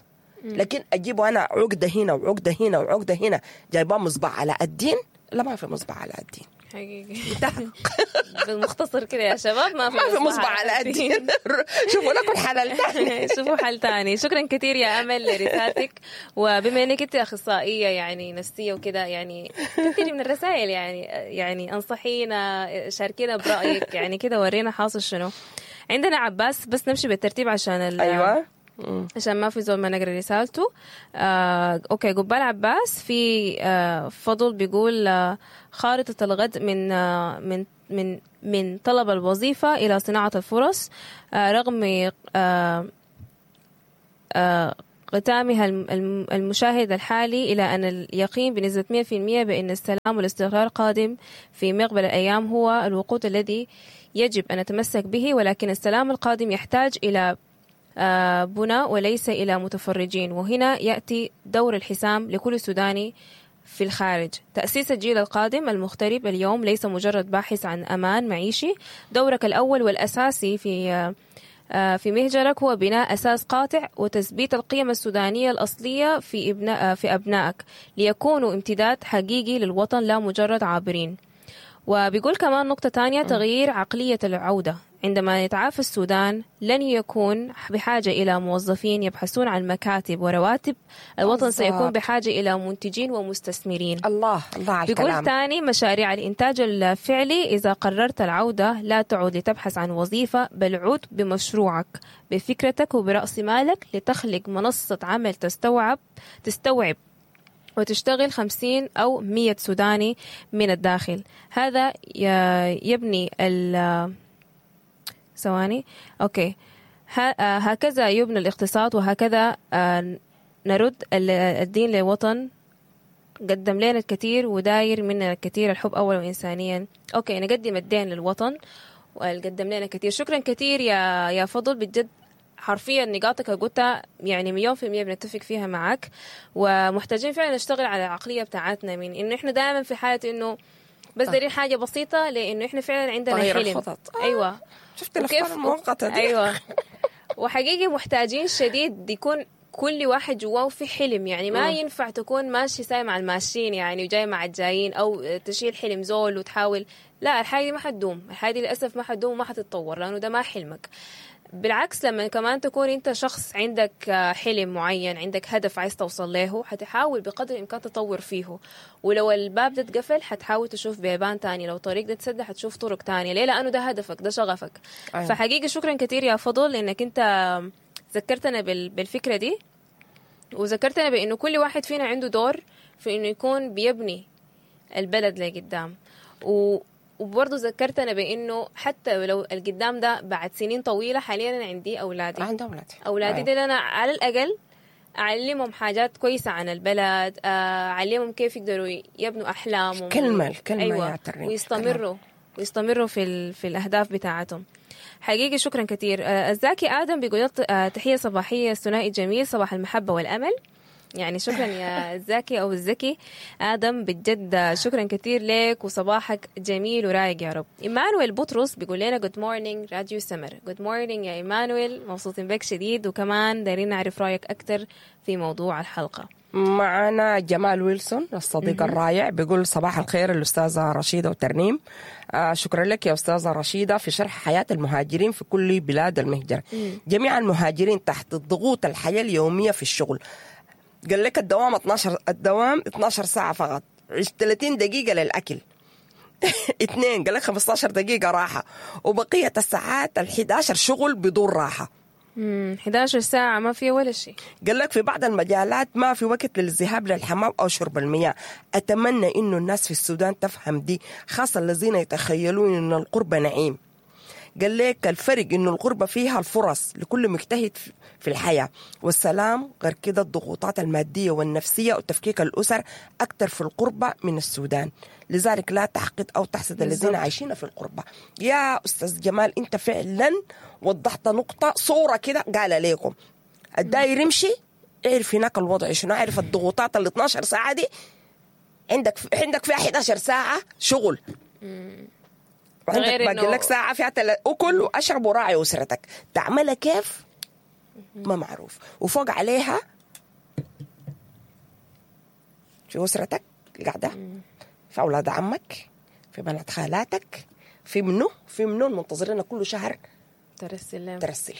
لكن أجيبه أنا عقدة هنا وعقدة هنا وعقدة هنا، جايباه مصباح علاء الدين؟ لا، ما في مصباح علاء الدين حقيقي. بالمختصر كده يا شباب، ما في ما في مصباح علاء الدين. شوفوا لكم حل ثاني، شوفوا حل ثاني. شكرا كثير يا امل لرسالتك، وبما انك انت اخصائية يعني نفسية وكده، يعني كثير من الرسائل يعني يعني انصحينا، شاركينا برايك، يعني كده ورينا حاصل شنو. عندنا عباس، بس نمشي بالترتيب عشان ايوه عشان ما في زول ما نقرا رسالته. آه، okay، قبال عباس في آه، فضل بيقول آه، خارطة الغد من آه، من من من طلب الوظيفة إلى صناعة الفرص، آه، رغم آه، آه، قتامها الم- الم- المشاهد الحالي، إلى أن اليقين بنسبة مئة في المئة بأن السلام والاستقرار قادم في مقبل الأيام هو الوقود الذي يجب أن نتمسك به، ولكن السلام القادم يحتاج إلى آه، بناء وليس إلى متفرجين، وهنا يأتي دور الحسام لكل سوداني في الخارج. تأسيس الجيل القادم المغترب اليوم ليس مجرد باحث عن أمان معيشي، دورك الأول والأساسي في آه، آه، في مهجرك هو بناء أساس قاطع وتثبيت القيم السودانية الأصلية في ابناء في أبنائك ليكونوا امتداد حقيقي للوطن لا مجرد عابرين. وبيقول كمان نقطة تانية، تغيير عقلية العودة. عندما يتعافى السودان لن يكون بحاجة إلى موظفين يبحثون عن مكاتب ورواتب، الوطن سيكون بالضبط. بحاجة إلى منتجين ومستثمرين. الله الله على بيقول الكلام. تاني، مشاريع الإنتاج الفعلي، إذا قررت العودة لا تعود لتبحث عن وظيفة، بل عود بمشروعك بفكرتك وبرأس مالك لتخلق منصة عمل تستوعب تستوعب وتشتغل خمسين أو مية سوداني من الداخل. هذا ي- يبني ال ثواني okay ه- آه، هكذا يبنى الاقتصاد، وهكذا آه، نرد ال- الدين للوطن. قدم لنا الكثير وداير منا الكثير، الحب أول وإنسانيا. okay، نقدم الدين للوطن وقدم لنا كثير. شكرا كثير يا يا فضل، بجد حرفيا نقاطك اللي قلتها يعني مليون في المية بنتفق فيها معك، ومحتاجين فعلا نشتغل على العقلية بتاعتنا من إنه إحنا دائما في حالة إنه بس دايرين حاجة بسيطة، لأنه إحنا فعلا عندنا تغيير حلم. الخطط. آه. أيوة شفت الافكار وكيف- المؤقتة دي؟ ايوه، وحقيقي محتاجين شديد يكون كل واحد جواه في حلم، يعني ما ينفع تكون ماشي ساي مع الماشيين يعني وجاي مع الجايين، او تشيل حلم زول وتحاول، لا الحاجة دي ما حتدوم، الحاجة دي للاسف ما حتدوم وما حتتطور لانه ده ما حلمك. بالعكس لما كمان تكون انت شخص عندك آه، حلم معين، عندك هدف عايز توصل له، حتحاول بقدر الامكان تطور فيه، ولو الباب ده اتقفل حتحاول تشوف بيبان تاني، لو طريق ده اتسد حتشوف طرق تانية. ليه؟ لانه ده هدفك، ده شغفك. أيوة. فحقيقي شكرا كثير يا فضل انك انت ذكرتنا بال- بالفكرة دي، وذكرتنا بانه كل واحد فينا عنده دور في انه يكون بيبني البلد لقدام، و وبرضه ذكرتنا بانه حتى لو القدام ده بعد سنين طويلة، حاليا انا عندي اولادي، عند اولادي اولادي أيوة. دي انا على الاقل اعلمهم حاجات كويسة عن البلد، آه، اعلمهم كيف يقدروا يبنوا احلامهم. الكلمة- الكلمة أيوة. يا ترنيم، ويستمروا ويستمروا في ال... في الاهداف بتاعتهم. حقيقي شكرا كثير. آه، الزاكي ادم بيقول آه، تحية صباحية ثنائي جميل، صباح المحبة والامل. يعني شكرا يا الزاكي او الزكي ادم، بجد شكرا كثير لك وصباحك جميل ورايق يا رب. ايمانويل بطرس بيقول لنا good morning راديو سمر. good morning يا ايمانويل، مبسوطين بك شديد، وكمان دايرين نعرف رايك اكثر في موضوع الحلقة. معنا جمال ويلسون الصديق الرائع بيقول صباح الخير الأستاذة رشيدة وترنيم. آه شكرا لك يا أستاذة رشيدة في شرح حياة المهاجرين في كل بلاد المهجر. جميع المهاجرين تحت ضغوط الحياة اليومية في الشغل. قال لك الدوام اتناشر، الدوام اتناشر ساعة فقط، ثلاثين دقيقة للأكل، اثنين قال لك خمستاشر دقيقة راحة، وبقية الساعات ال حداشر شغل بدون راحة. امم حداشر ساعة ما في ولا شيء. قال لك في بعض المجالات ما في وقت للذهاب للحمام أو شرب المياه. أتمنى إنه الناس في السودان تفهم دي، خاصة الذين يتخيلون إن القربة نعيم. قال لك الفرق إنه الغربة فيها الفرص لكل مجتهد في الحياة والسلام، غير كده الضغوطات المادية والنفسية وتفكيك الأسر أكثر في القربة من السودان، لذلك لا تحقد أو تحسد الذين عايشين في القربة. يا أستاذ جمال أنت فعلا وضحت نقطة صورة كده قال لكم الداير يمشي اعرف هناك الوضع شنو، اعرف الضغوطات ال اتناشر ساعة دي، عندك عندك فيها حداشر ساعة شغل، وعندك غير باقي إنه- لك ساعة فيها تل... أكل وأشرب وراعي أسرتك، تعملها كيف؟ ما معروف. وفوق عليها في أسرتك قاعدة، في أولاد عمك، في بنات خالاتك، في منو في منو المنتظرين كل شهر ترسل لهم. ترسل.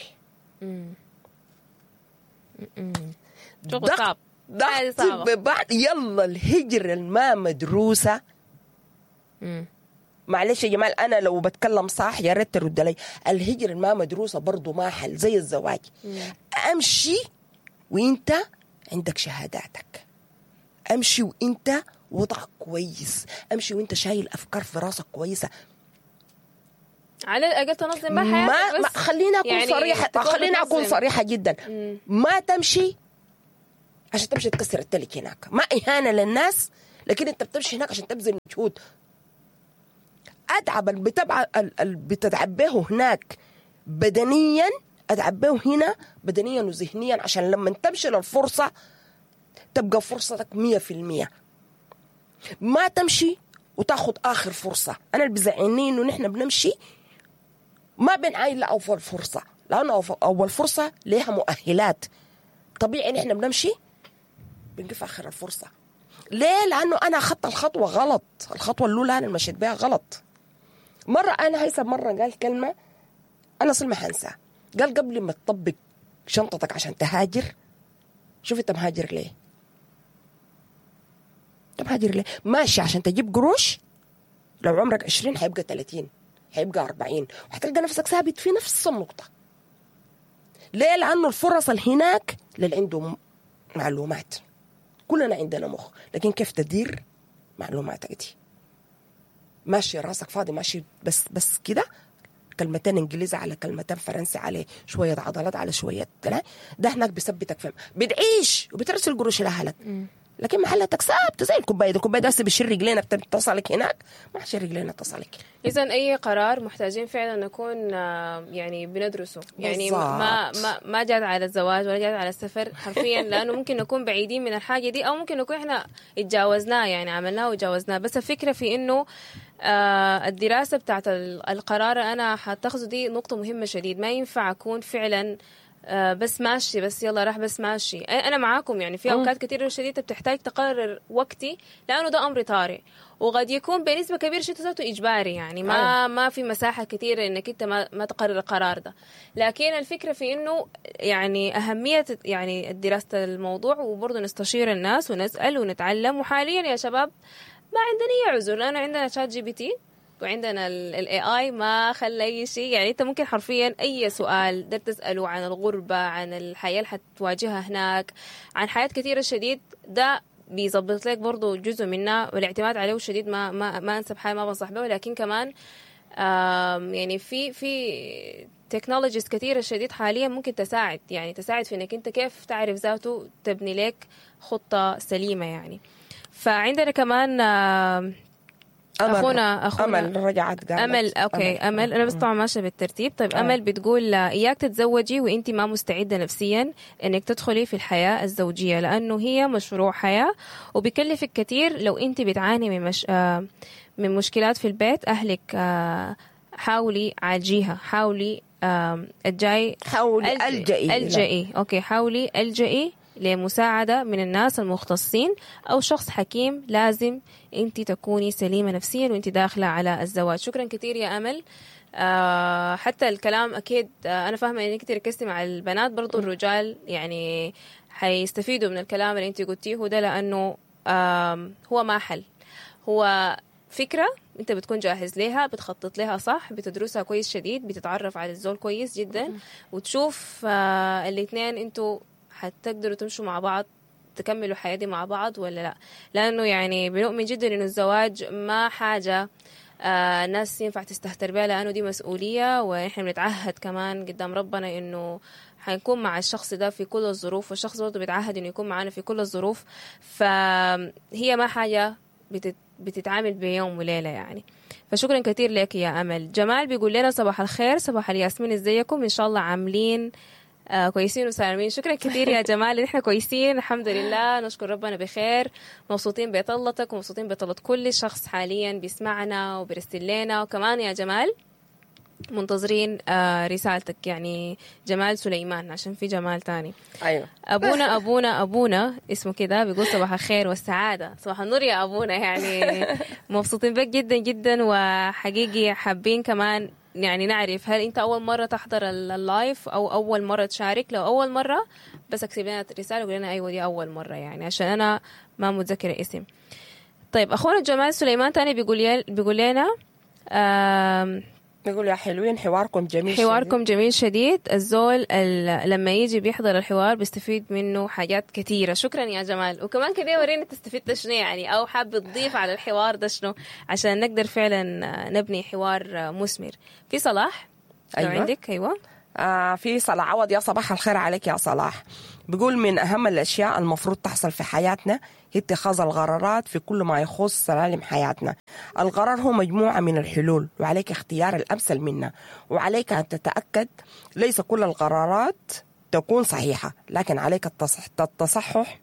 شغل ضغط- صعب. حاجة ضغط صعبة. ببعض. يلا الهجرة الما مدروسة مم. معلش يا جمال انا لو بتكلم صح يا ريت ترد لي. الهجرة ما مدروسة برضو ما حل زي الزواج. امشي وانت عندك شهاداتك، امشي وانت وضعك كويس، امشي وانت شايل افكار في راسك كويسة. على الاقل تنظم ما حياتك. ما, ما خلينا اكون يعني صريحه، خلينا اكون صريحه جدا. مم. ما تمشي عشان تمشي تكسر التلج هناك، ما اهانه للناس، لكن انت بتمشي هناك عشان تبذل مجهود. اتعب اللي بتتعب به هناك بدنيا اتعب به هنا بدنيا وذهنيا، عشان لما تمشي للفرصه تبقى فرصتك مية في المية. ما تمشي وتاخد اخر فرصة. انا اللي بزعلني انه نحن بنمشي ما بنعاين لاول فرصة، لانه اول فرصة ليها مؤهلات. طبيعي نحن بنمشي بنقف اخر الفرصة. ليه؟ لانه انا اخذت الخطوة غلط، الخطوة الاولى انا مشيت بها غلط. مرة انا هيثم مرة قال كلمة انا اصلا ما حنساها، قال قبل ما تطبق شنطتك عشان تهاجر شوف انت مهاجر ليه؟ انت مهاجر ليه؟ ماشي عشان تجيب قروش، لو عمرك عشرين حيبقى ثلاثين، حيبقى أربعين، وحتلقى نفسك ثابت في نفس النقطة. ليه؟ لأنه الفرص اللي هناك للي عنده معلومات. كلنا عندنا مخ، لكن كيف تدير معلوماتك دي؟ ماشي راسك فاضي، ماشي بس بس كده كلمتين انجليزي على كلمتين فرنسي على شوية عضلات على شوية ده هناك بيثبتك فهم، بتعيش وبترسل قروش لاهلك، لكن محلتك ثابتة زي الكوباية دي. الكوباية دي بتشيل رجلينا بتصلك هناك، ما حشيل رجلينا تصلك. اذا اي قرار محتاجين فعلا نكون يعني بندرسه، يعني ما ما ما جات على الزواج ولا جات على السفر حرفيا، لانه ممكن نكون بعيدين من الحاجة دي، او ممكن نكون احنا اتجاوزناه، يعني عملناه وتجاوزناه. بس الفكرة في انه آه الدراسة بتاعت القرار انا حتاخذه دي نقطة مهمة شديد. ما ينفع اكون فعلا آه بس ماشي، بس يلا راح بس ماشي. أنا معاكم يعني في أوقات كثيرة شديدة بتحتاج تقرر وقتي، لأنه ده أمر طارئ وقد يكون بنسبة كبيرة شيء ذاته إجباري، يعني ما ما في مساحة كثيرة إنك أنت ما ما تقرر القرار ده. لكن الفكرة في إنه يعني أهمية يعني دراسة الموضوع، وبرضه نستشير الناس ونسأل ونتعلم. وحاليا يا شباب ما عندنا أي عذر، لأنه عندنا ChatGPT وعندنا ال إيه آي، ما خلى أي شيء. يعني أنت ممكن حرفيا أي سؤال قدرت تسأله عن الغربة، عن الحياة اللي حتواجهها هناك، عن حياة كثيرة شديد، ده بيظبط لك برضو جزء منها. والاعتماد عليه شديد ما ما ما أنسب حاجة، ما بنصح به. لكن كمان يعني في في technologies كثيرة شديد حاليا ممكن تساعد، يعني تساعد في إنك أنت كيف تعرف ذاته تبني لك خطة سليمة يعني. فعندنا كمان أمل أخونا أخونا أمل رجعت قالت أمل. okay أمل, أمل. أنا بس طبعا ماشية بالترتيب. طيب أمل. أمل بتقول إياك تتزوجي وإنت ما مستعدة نفسيا إنك تدخلي في الحياة الزوجية، لأنه هي مشروع حياة وبيكلفك كثير. لو إنت بتعاني من مش... من مشكلات في البيت أهلك، حاولي عالجيها، حاولي الجاي حاولي ألجئي ألجئي okay حاولي ألجئي لمساعدة من الناس المختصين أو شخص حكيم. لازم أنت تكوني سليمة نفسيا وأنت داخلة على الزواج. شكرا كثير يا أمل. آه حتى الكلام أكيد آه أنا فاهمة إنك تركزتي مع البنات، برضو الرجال يعني حيستفيدوا من الكلام اللي أنت قلتيه ده، لأنه آه هو ما حل، هو فكرة أنت بتكون جاهز لها، بتخطط لها صح، بتدرسها كويس شديد، بتتعرف على الزول كويس جدا، وتشوف آه الاثنين أنتوا حتقدروا تمشوا مع بعض، تكملوا حياتي مع بعض ولا لا. لأنه يعني بنؤمن جدا إنه الزواج ما حاجة آه الناس ينفع تستهتر بها، لأنه دي مسؤولية، ونحن بنتعهد كمان قدام ربنا إنه حنكون مع الشخص ده في كل الظروف، والشخص برضه بيتعهد إنه يكون معنا في كل الظروف. فهي ما حاجة بتت بتتعامل بيوم وليلة يعني. فشكرا كثير لك يا أمل. جمال بيقول لنا صباح الخير، صباح الياسمين، ازيكم؟ إن شاء الله عاملين آه كويسين وسالمين. شكرا كثير يا جمال، نحن كويسين الحمد لله، نشكر ربنا بخير، مبسوطين بطلتك ومبسوطين بطلة كل شخص حاليا بيسمعنا وبيرسل لنا. وكمان يا جمال منتظرين آه رسالتك، يعني جمال سليمان عشان في جمال تاني. ايوه ابونا ابونا ابونا اسمه كده، بيقول صباح الخير والسعادة، صباح النور يا ابونا. يعني مبسوطين بك جدا جدا، وحقيقي حابين كمان يعني نعرف هل انت اول مرة تحضر ال live او اول مرة تشارك؟ لو اول مرة بس اكتب لنا رسالة وقول لنا ايوه دي اول مرة، يعني عشان انا ما متذكرة اسم. طيب اخونا جمال سليمان تاني بيقول بيقول لنا آم، نقول يا حلوين حواركم جميل حواركم جميل شديد. الزول ال- لما يجي بيحضر الحوار بيستفيد منه حاجات كثيرة. شكرا يا جمال. وكمان كده ورينا تستفيد شنو يعني، أو حاب تضيف على الحوار ده شنو، عشان نقدر فعلا نبني حوار مثمر. في صلاح لو أيوة. عندك. أيوة. آه في صلاح عوض، يا صباح الخير عليك يا صلاح. بيقول من أهم الأشياء المفروض تحصل في حياتنا هي اتخاذ القرارات في كل ما يخص سلالم حياتنا. القرار هو مجموعة من الحلول وعليك اختيار الأمثل منها، وعليك أن تتأكد ليس كل القرارات تكون صحيحة، لكن عليك التصح التصحح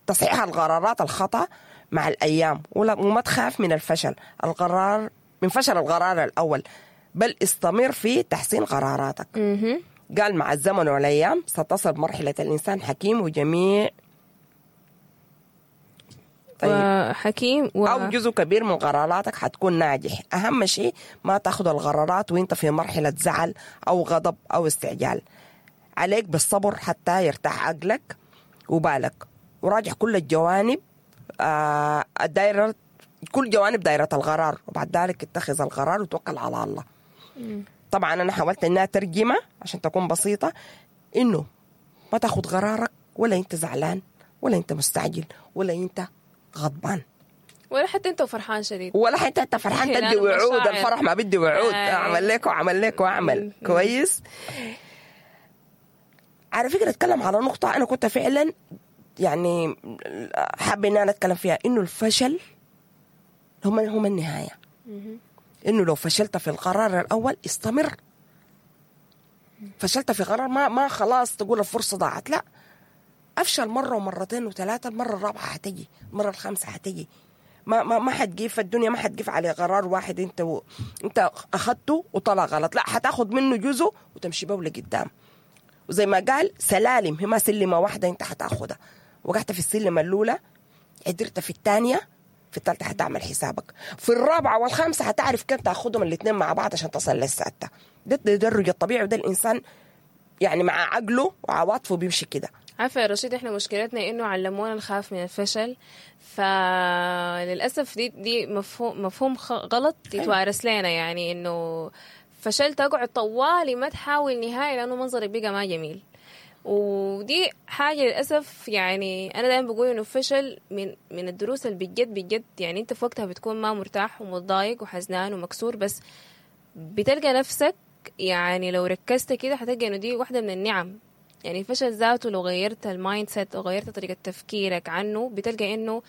تصحيح القرارات الخطأ مع الأيام، وما تخاف من الفشل القرار من فشل القرار الأول، بل استمر في تحسين قراراتك. قال مع الزمن والأيام ستصل مرحلة الإنسان حكيم وجميع طيب. وحكيم و... أو جزء كبير من قراراتك حتكون ناجح. أهم شيء ما تاخذ القرارات وانت في مرحلة زعل أو غضب أو استعجال. عليك بالصبر حتى يرتاح عقلك وبالك، وراجع كل الجوانب آه الدائرة، كل جوانب دائرة القرار، وبعد ذلك اتخذ القرار وتوكل على الله. طبعا أنا حاولت إنها ترجمة عشان تكون بسيطة، إنه ما تاخذ قرارك ولا أنت زعلان ولا أنت مستعجل ولا أنت غضبان ولا حتى أنت فرحان شديد ولا حتى أنت فرحان تدي وعود. الفرح ما بدي وعود، أعمل لك وأعمل لك وأعمل كويس. على فكرة أتكلم على نقطة أنا كنت فعلا يعني حابة إن أنا أتكلم فيها، إنه الفشل هم هم النهاية. إنه لو فشلت في القرار الأول استمر. فشلت في قرار ما ما خلاص تقول الفرصة ضاعت، لا، أفشل مرة ومرتين وثلاثة، المرة الرابعة حتجي، المرة الخامسة حتجي. ما ما ما حتقيف الدنيا، ما حتقيف على قرار واحد أنت و... أنت أخذته وطلع غلط، لا، حتاخد منه جزء وتمشي به لقدام. وزي ما قال سلالم، هي ما سلمة واحدة أنت حتاخدها. وقعت في السلمة الأولى، قدرت في الثانية، في الثالثة حتعمل حسابك، في الرابعة والخامسة حتعرف كيف تاخدهم الاثنين مع بعض عشان تصل للسادسة. ده التدرج الطبيعي، وده الإنسان يعني مع عقله وعواطفه بيمشي كده. عارفة يا رشيد، احنا مشكلتنا انه علمونا نخاف من الفشل، فللأسف دي دي مفهوم مفهوم غلط يتوارث لنا، يعني انه فشلت اقعد طوالي ما تحاول نهائي لانه منظرك بقى ما جميل. ودي حاجة للأسف يعني أنا دائما بقول إنه الفشل من من الدروس اللي بجد بجد يعني أنت في وقتها بتكون ما مرتاح ومتضايق وحزنان ومكسور، بس بتلقى نفسك يعني لو ركزت كده هتلقى إنه دي واحدة من النعم. يعني الفشل ذاته لو غيرت ال mindset وغيرت طريقة تفكيرك عنه بتلقى إنه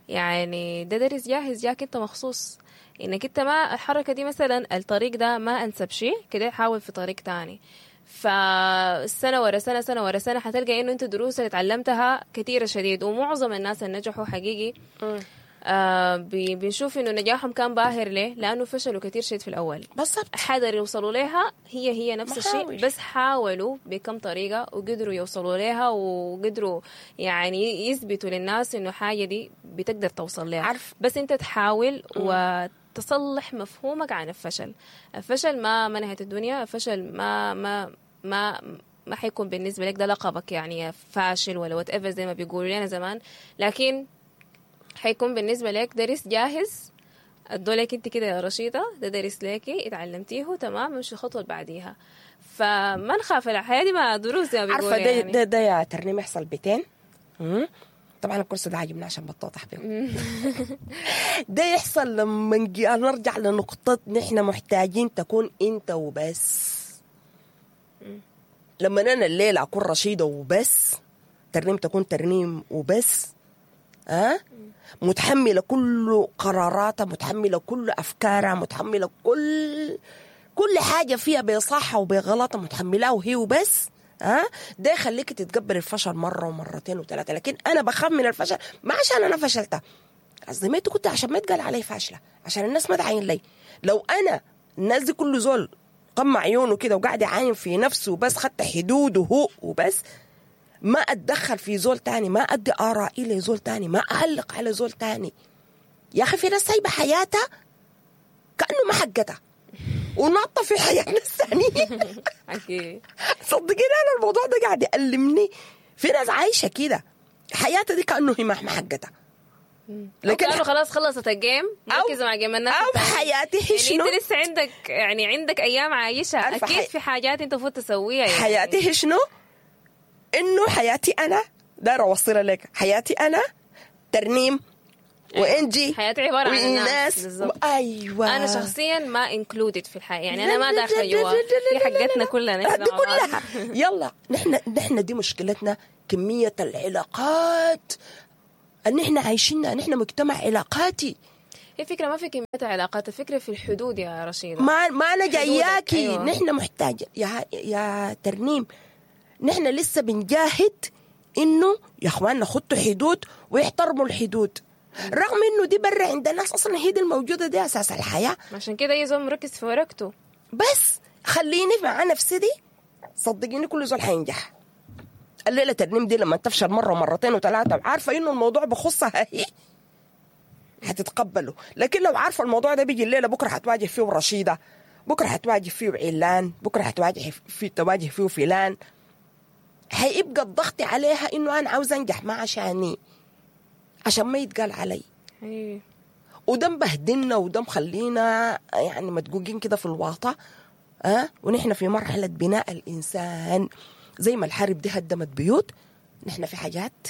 يعني ده درس جاهز جاك أنت مخصوص، إنك أنت ما الحركة دي مثلا الطريق ده ما أنسب شيء كده، حاول في طريق تاني. فالسنة ورا سنة، سنة ورا سنة، حتلقى إنه أنت دروس اللي تعلمتها كثيرة شديد. ومعظم الناس اللي نجحوا حقيقي آه بنشوف إنه نجاحهم كان باهر. ليه؟ لأنه فشلوا كثير شديد في الأول، بالضبط حذر يوصلوا لها، هي هي نفس الشيء، بس حاولوا بكم طريقة وقدروا يوصلوا لها، وقدروا يعني يثبتوا للناس إنه حاجة دي بتقدر توصل لها. عارف، بس أنت تحاول و تصلح مفهومك عن الفشل. الفشل ما ما نهاية الدنيا، الفشل ما ما ما ما حيكون بالنسبة لك ده لقبك يعني فاشل ولا whatever زي ما بيقولوا لنا زمان، لكن حيكون بالنسبة لك درس جاهز ادولك انت كده يا رشيدة، ده درس لك اتعلمتيه تمام، مش الخطوة اللي بعديها. فما نخاف، الحياة دي ما دروس زي ما بيقولوا. عارفة ده, يعني. ده ده يا ترنيم يحصل بيتين. طبعا الكرسي ده عاجبني عشان بتوضح بيه. ده يحصل لما نرجع لنقطة نحن محتاجين تكون انت وبس. لما انا الليلة اكون رشيدة وبس، ترنيم تكون ترنيم وبس، أه؟ متحملة كل قراراتها، متحملة كل أفكارها، متحملة كل كل حاجة فيها بصحة وبغلطة، متحملها وهي وبس. ها أه؟ ده يخليك تتقبل الفشل مرة ومرتين وثلاثة. لكن أنا بخاف من الفشل ما عشان أنا فشلتها، قصدي ما كنت عشان ما يتقال علي فاشلة، عشان الناس ما تعاين لي. لو أنا الناس دي كل زول قمع عيونه كده وقاعد يعاين في نفسه وبس، خدت حدوده هو وبس، ما أتدخل في زول تاني، ما أدي آرائي لزول تاني، ما أعلق على زول تاني. يا أخي في ناس سايبة حياتها كأنه ما حقتها وناطة في حياتنا الثانية. صدقيني أنا الموضوع ده قاعد يألمني. في ناس عايشة كده حياتها دي كأنه هي ما حقتها. لكن لكن خلاص خلصت ال game، مركزه مع game الناس او التانية. حياتي هي يعني شنو؟ انت لسه عندك يعني عندك ايام عايشها، عارفة اكيد حي- في حاجات انت المفروض تسويها يعني. حياتي هي شنو؟ انه حياتي انا دايرة اوصلها لك، حياتي انا ترنيم وانجي حياتي عبارة عن الناس. وإيناس بالظبط. ايوه انا شخصيا ما included في الحياة، يعني انا لا ما لا داخله لا جوا لا لا دي لا لا حقتنا لا. كلنا نحن دي مع بعض. كلها. يلا نحن نحن دي مشكلتنا، كمية العلاقات ان احنا عايشينها، نحن مجتمع علاقاتي. هي فكرة ما في كمية علاقات، الفكرة في الحدود يا رشيده. ما ما انا جاياكي. أيوة. نحن محتاج يا يا ترنيم، نحن لسه بنجاهد انه يا اخواننا خطوا حدود ويحترموا الحدود، رغم انه دي برا عند الناس اصلا هي دي الموجودة، دي اساس الحياة. عشان كده اي زول مركز في ورقته. بس خليني مع نفسي دي، صدقيني كل زول حينجح. الليلة ترنيم دي لما تفشل مرة ومرتين وثلاثة وعارفه انه الموضوع بخصها هي هتتقبله، لكن لو عارفه الموضوع ده بيجي الليلة بكره هتواجه فيه رشيده، بكره هتواجه فيه علان، بكره هتواجه فيه تواجه فيه فلان، هيبقى الضغط عليها انه انا عاوز انجح ما عشاني، عشان ما يتقال علي. أيوة. وده مبهدلنا وده مخلينا يعني مدقوقين كده في الواطة. أه؟ ونحن في مرحلة بناء الإنسان، زي ما الحرب دي هدمت بيوت، نحن في حاجات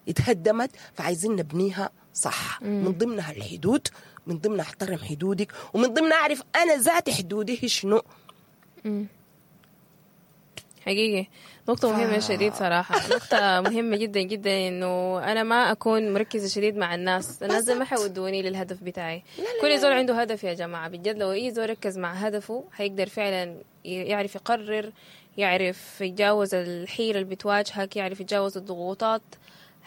اتهدمت فعايزين نبنيها صح. مم. من ضمنها الحدود، من ضمنها احترم حدودك، ومن ضمنها اعرف انا ذاتي حدودي هي شنو. مم. حقيقي نقطة مهمة شديد صراحة، نقطة مهمة جدا جدا، إنه أنا ما أكون مركزة شديد مع الناس، الناس ما حيودوني للهدف بتاعي. لا لا كل زول عنده هدف يا جماعة، بجد لو أي زول ركز مع هدفه حيقدر فعلا يعرف يقرر، يعرف يتجاوز الحيرة اللي بتواجهك، يعرف يتجاوز الضغوطات.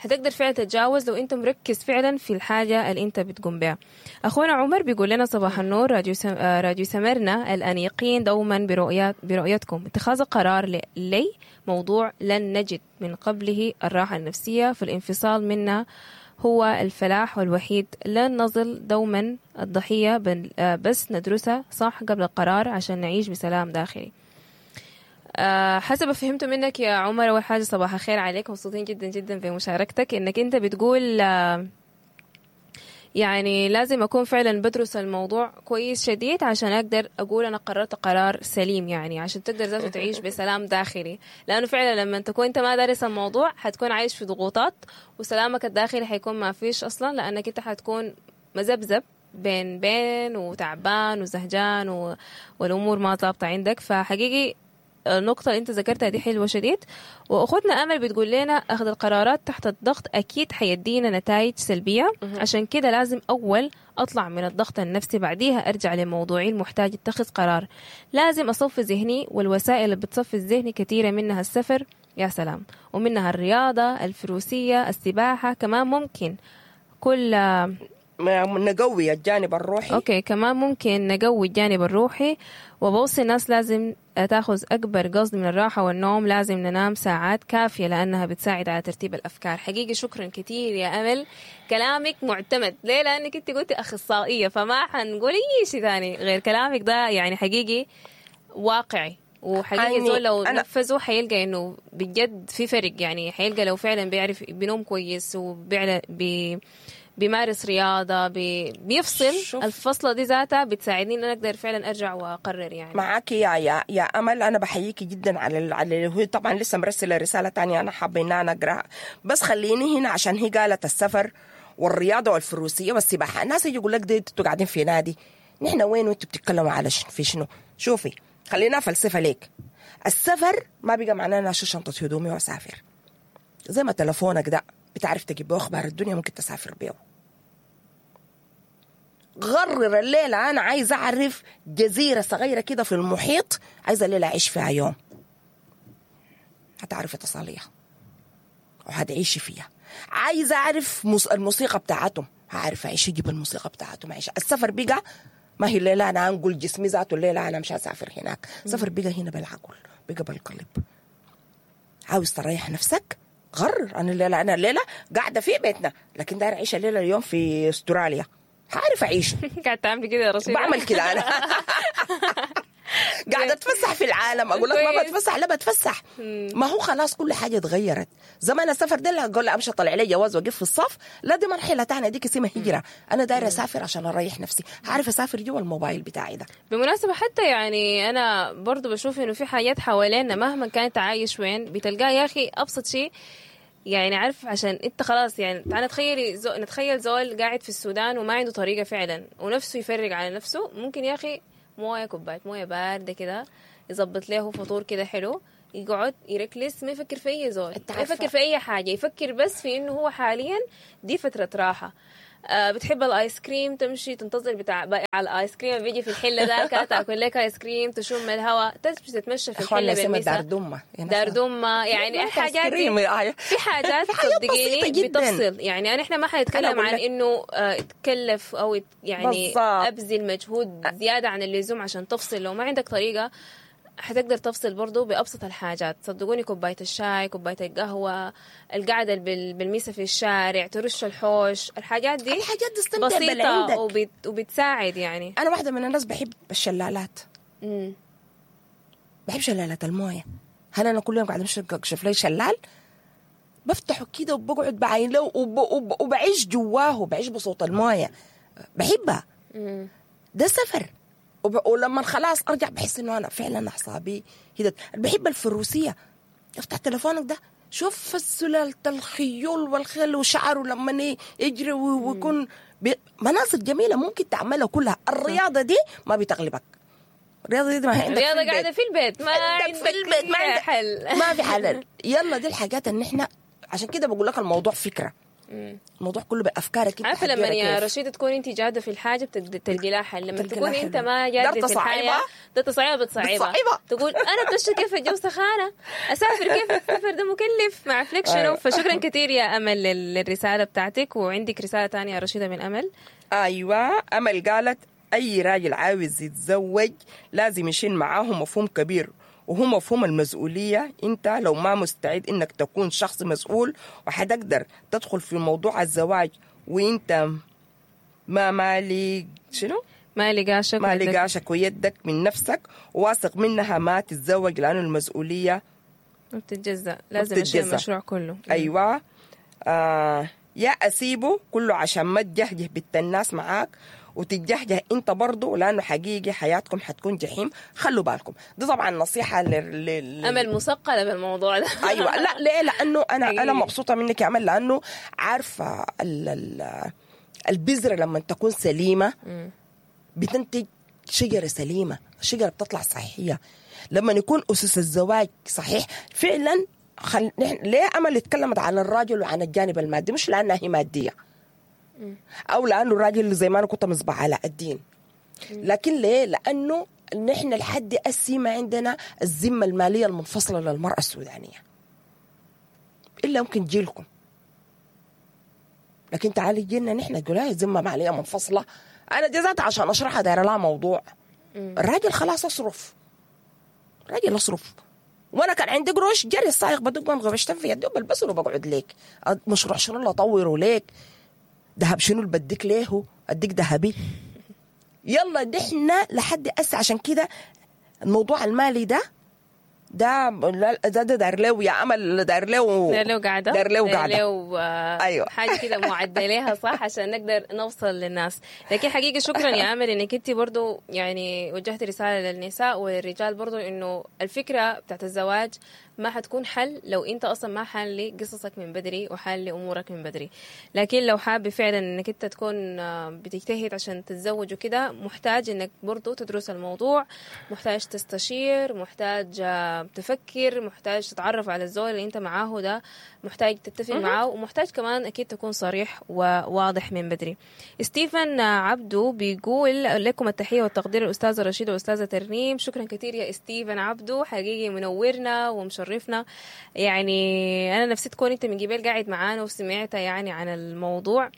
هتقدر فعلا تتجاوز لو انت مركز فعلا في الحاجة اللي انت بتقوم بها. اخونا عمر بيقول لنا صباح النور، راديو سم... راديو سمرنا الانيقين دوما برؤيات برؤيتكم. اتخاذ قرار ل... لي موضوع لن نجد من قبله الراحة النفسية، فالانفصال منا هو الفلاح والوحيد. لن نظل دوما الضحية، بس ندرسها صح قبل القرار عشان نعيش بسلام داخلي. أه حسب فهمته منك يا عمر، أول حاجة صباح الخير عليك، مبسوطين جدا جدا بمشاركتك، إنك أنت بتقول أه يعني لازم أكون فعلا بدرس الموضوع كويس شديد عشان أقدر أقول أنا قررت قرار سليم، يعني عشان تقدر ذاته تعيش بسلام داخلي. لأنه فعلا لما تكون أنت ما دارس الموضوع حتكون عايش في ضغوطات، وسلامك الداخلي حيكون ما فيش أصلا، لأنك أنت حتكون مزبزب بين بين وتعبان وزهجان و... والأمور ما ظابطة عندك. فحقيقي النقطة اللي انت ذكرتها دي حلوة شديد. واخوتنا امل بتقول لنا اخذ القرارات تحت الضغط اكيد حيدينا نتائج سلبية، عشان كده لازم اول اطلع من الضغط النفسي، بعديها ارجع لموضوعي المحتاج اتخذ قرار. لازم اصفي ذهني، والوسائل اللي بتصفي الذهن كثيرة، منها السفر يا سلام، ومنها الرياضة، الفروسية، السباحة، كمان ممكن كل نقوي الجانب الروحي. okay، كمان ممكن نقوي الجانب الروحي. وبوصي الناس لازم تاخذ اكبر قصد من الراحة والنوم، لازم ننام ساعات كافيه لانها بتساعد على ترتيب الافكار. حقيقي شكرا كثير يا امل، كلامك معتمد. ليه؟ لانك انت قلتي اخصائية، فما حنقول اي شيء ثاني غير كلامك ده، يعني حقيقي واقعي، وحقيقي زول لو نفذه حيلقى انه بجد في فرق، يعني حيلقى لو فعلا بيعرف بينوم كويس وبيعرف بي بيمارس رياضة، بي... بيفصل. شوف. الفصلة دي ذاتها بتساعدني إن أنا أقدر فعلا أرجع وأقرر. يعني معاكي يا يا يا أمل، أنا بحييكي جدا على ال... على هي طبعا لسه مرسلة رسالة تانية أنا حابة إن أنا أقرأها، بس خليني هنا عشان هي قالت السفر والرياضة والفروسية والسباحة. الناس يجي يقول لك دي أنتوا قاعدين في نادي، نحن وين وأنتوا بتتكلموا على شنو في شنو؟ شوفي خلينا فلسفة ليك. السفر ما بقى معناه أنا أشيل شنطة هدومي وأسافر، زي ما تلفونك ده بتعرف تجيب بيه أخبار الدنيا ممكن تسافر بيه. غرر الليلة أنا عايزة أعرف جزيرة صغيرة كده في المحيط، عايزة الليلة أعيش فيها يوم، هتعرفي تصليها وهتعيشي فيها. عايزة أعرف الموسيقى بتاعتهم، هعرف أعيش أجيب الموسيقى بتاعتهم أعيش. السفر بقى ما هي الليلة أنا أنقل جسمي ذاته الليلة أنا مش هسافر هناك. سفر بقى هنا بالعقل، بقى بالقلب. عاوز تريح نفسك غرر، أنا الليلة أنا الليلة قاعدة في بيتنا، لكن داير أعيش الليلة اليوم في استراليا، هعرف أعيش. قاعد تعمل كده يا رشيد؟ بعمل كده أنا. قاعدة اتفسح في العالم. اقول لك ما بتفسح، لا بتفسح. ما هو خلاص كل حاجة اتغيرت. زمان السفر ده اقول امشي اطلع لي جواز واقف في الصف، لا دي مرحلة ثانية، ديك اسمها هجره. انا دايرة اسافر عشان اريح نفسي، عارف اسافر جوا الموبايل بتاعي ده. بالمناسبة حتى يعني انا برضو بشوف انه في حاجات حوالينا مهما كانت عايش وين بتلقاه يا اخي ابسط شيء يعني، عارف عشان انت خلاص يعني تعال نتخيل زو... نتخيل زول قاعد في السودان وما عنده طريقه فعلا ونفسه يفرق على نفسه، ممكن يا اخي مويه، كوباية مويه باردة كده، يظبط له فطور كده حلو، يقعد يركلس، ما يفكر في اي زول، ما يفكر في اي حاجة، يفكر بس في انه هو حاليا دي فترة راحة. آه بتحب الايس كريم، تمشي تنتظر بتاع بائع الايس كريم بيجي في الحلة ذاك، تاكل لك ايس كريم، تشم الهواء، تمشي تتمشى في الحلة بالمساء. دار دمه، دار دمه يعني حاجات في حاجات صدقيني بتفصل. يعني انا احنا ما حنتكلم عن انه آه تكلف او يعني ابذل مجهود زيادة عن اللزوم عشان تفصل. لو ما عندك طريقه حتقدر تفصل برضو بأبسط الحاجات. صدقوني كوباية الشاي، كوباية القهوة، القعدة بالميسة في الشارع، ترش الحوش، الحاجات دي الحاجات دي بسيطة وبت... وبتساعد. يعني أنا واحدة من الناس بحب الشلالات. مم. بحب شلالات الموية. هل أنا كل يوم قاعدة أمشي أكشف لي شلال؟ بفتحه كده وبقعد بعين له وب... وب... وبعيش جواه، بعيش بصوت الموية، بحبها. مم. ده سفر. ولما خلاص ارجع بحس انه انا فعلا اعصابي هدت. بحب الفروسية، افتح تليفونك ده شوف سلالة الخيول والخيل وشعره لما يجري ويكون بي... مناظر جميلة ممكن تعملها كلها. الرياضة دي ما بتغلبك، الرياضة دي ما عندك، الرياضة قاعدة في البيت، ما عندك في البيت، ما عندك حل، ما في حل. يلا دي الحاجات ان احنا عشان كده بقول لك الموضوع فكرة، الموضوع كله بافكارك. عارفه لما يا رشيدة تكون انت جاده في الحاجة بتلقي لها حل، لما تكون انت ما جاده في الحاجة ده تصعيبه بتصعيبها، تقول انا بتشتغل كيف الجو سخانه، اسافر كيف، السفر ده مكلف مع فليك شنو. فشكرا كثير يا امل للرسالة بتاعتك. وعندك رسالة ثانية يا رشيده من امل؟ ايوه، امل قالت اي راجل عاوز يتزوج لازم يشيل معاه مفهوم كبير، وهو مفهوم المسؤولية. انت لو ما مستعد انك تكون شخص مسؤول وحتقدر تدخل في موضوع الزواج وانت ما مالي شنو؟ مالي قاشك، مالي قاشك ويدك من نفسك وواثق منها، ما تتزوج لأنه المسؤولية ما بتتجزأ، لازم أشيل المشروع كله. ايوه، آه يا اسيبه كله عشان ما تجهجه بنت الناس معاك وتتجهجه انت برضو، لانه حقيقي حياتكم حتكون جحيم. خلوا بالكم، دي طبعا نصيحة لل لل امل مثقلة بالموضوع ده. ايوه، لا ليه؟ لانه انا انا مبسوطة منك يا امل، لانه عارفه ال ال البذرة لما تكون سليمة بتنتج شجرة سليمة، الشجرة بتطلع صحية. لما يكون اسس الزواج صحيح فعلا. خل... نحن ليه امل اتكلمت عن الراجل وعن الجانب المادي؟ مش لانها هي مادية او لانه الراجل زي ما انا كنت مصباح علاء الدين، لكن ليه؟ لانه نحن لحد اسي ما عندنا الذمة المالية المنفصلة للمراة السودانية، الا ممكن جيلكم، لكن تعالي جيلنا نحن تقول هاي ذمه ماليه منفصلة. انا جزات عشان اشرحها دايرة لها موضوع. الراجل خلاص اصرف، الراجل اصرف، وانا كان عندي قروش جري السائق بدق غبشتن في يدي وبلبسه وبقعد ليك مشروع شنو اللي اطوره ليك، ذهب شنو اللي بديك ليه، اديك ذهبي. يلا نحن لحد أس. عشان كده الموضوع المالي ده ده ده ده داير له يا امل، داير له داير له قاعدة، داير له قاعدة، ايوه حاجة كده معدليها صح عشان نقدر نوصل للناس. لكن حقيقة شكرا يا امل انك انت برضو يعني وجهت رسالة للنساء وللرجال برضو، انه الفكرة بتاعت الزواج ما حتكون حل لو انت اصلا ما حل قصصك من بدري وحل امورك من بدري. لكن لو حابب فعلا انك انت تكون بتجتهد عشان تتزوج وكده، محتاج انك برضو تدرس الموضوع، محتاج تستشير، محتاج تفكر، محتاج تتعرف على الزول اللي انت معاه ده، محتاج تتفق معاه، ومحتاج كمان اكيد تكون صريح وواضح من بدري. ستيفن عبدو بيقول لكم التحية والتقدير الأستاذة رشيدة والأستاذة ترنيم. شكرا كثير يا ستيفن عبدو، حقيقي منورنا ومشرفنا. يعني أنا نفسي تكون أنت من قبل قاعد معانا وسمعت يعني عن الموضوع،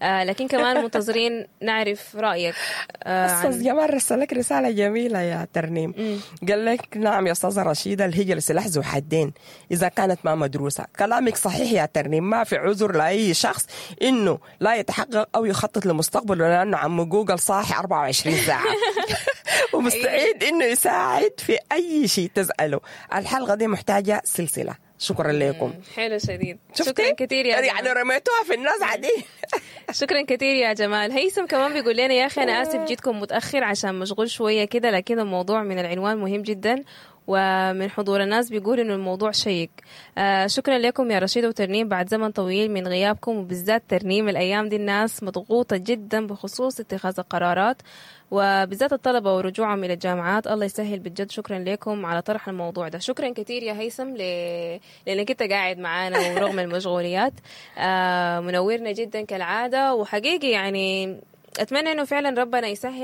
آه لكن كمان منتظرين نعرف رأيك. آه أستاذ جمال رسل لك رسالة جميلة يا ترنيم. مم. قال لك نعم يا أستاذة رشيدة، الهجرة سلاح ذو حدين إذا كانت ما مدروسة. كلامك صحيح يا ترنيم، ما في عذر لأي شخص إنه لا يتحقق أو يخطط لمستقبله لأنه عم جوجل صاحي أربعة وعشرين ساعة. ومستعد انه يساعد في اي شيء تساله. الحلقة دي محتاجه سلسلة. شكرا لكم. حلو شديد. شفتي؟ شكرا كثير يا يعني جمال. رميتوها في الناس عادي. شكرا كثير يا جمال. هيثم كمان بيقول لنا يا اخي انا اسف جيتكم متاخر عشان مشغول شوية كده، لكن الموضوع من العنوان مهم جدا، ومن حضور الناس بيقول انه الموضوع شيق. آه شكرا لكم يا رشيد وترنيم بعد زمن طويل من غيابكم، وبالذات ترنيم الايام دي الناس مضغوطه جدا بخصوص اتخاذ القرارات، وبالذات الطلبة ورجوعهم الى الجامعات. الله يسهل بجد. شكرا لكم على طرح الموضوع ده. شكرا كثير يا هيثم ل... لانك انت قاعد معانا ورغم المشغوليات. آه منورنا جدا كالعادة، وحقيقي يعني اتمنى انه فعلا ربنا يسهل.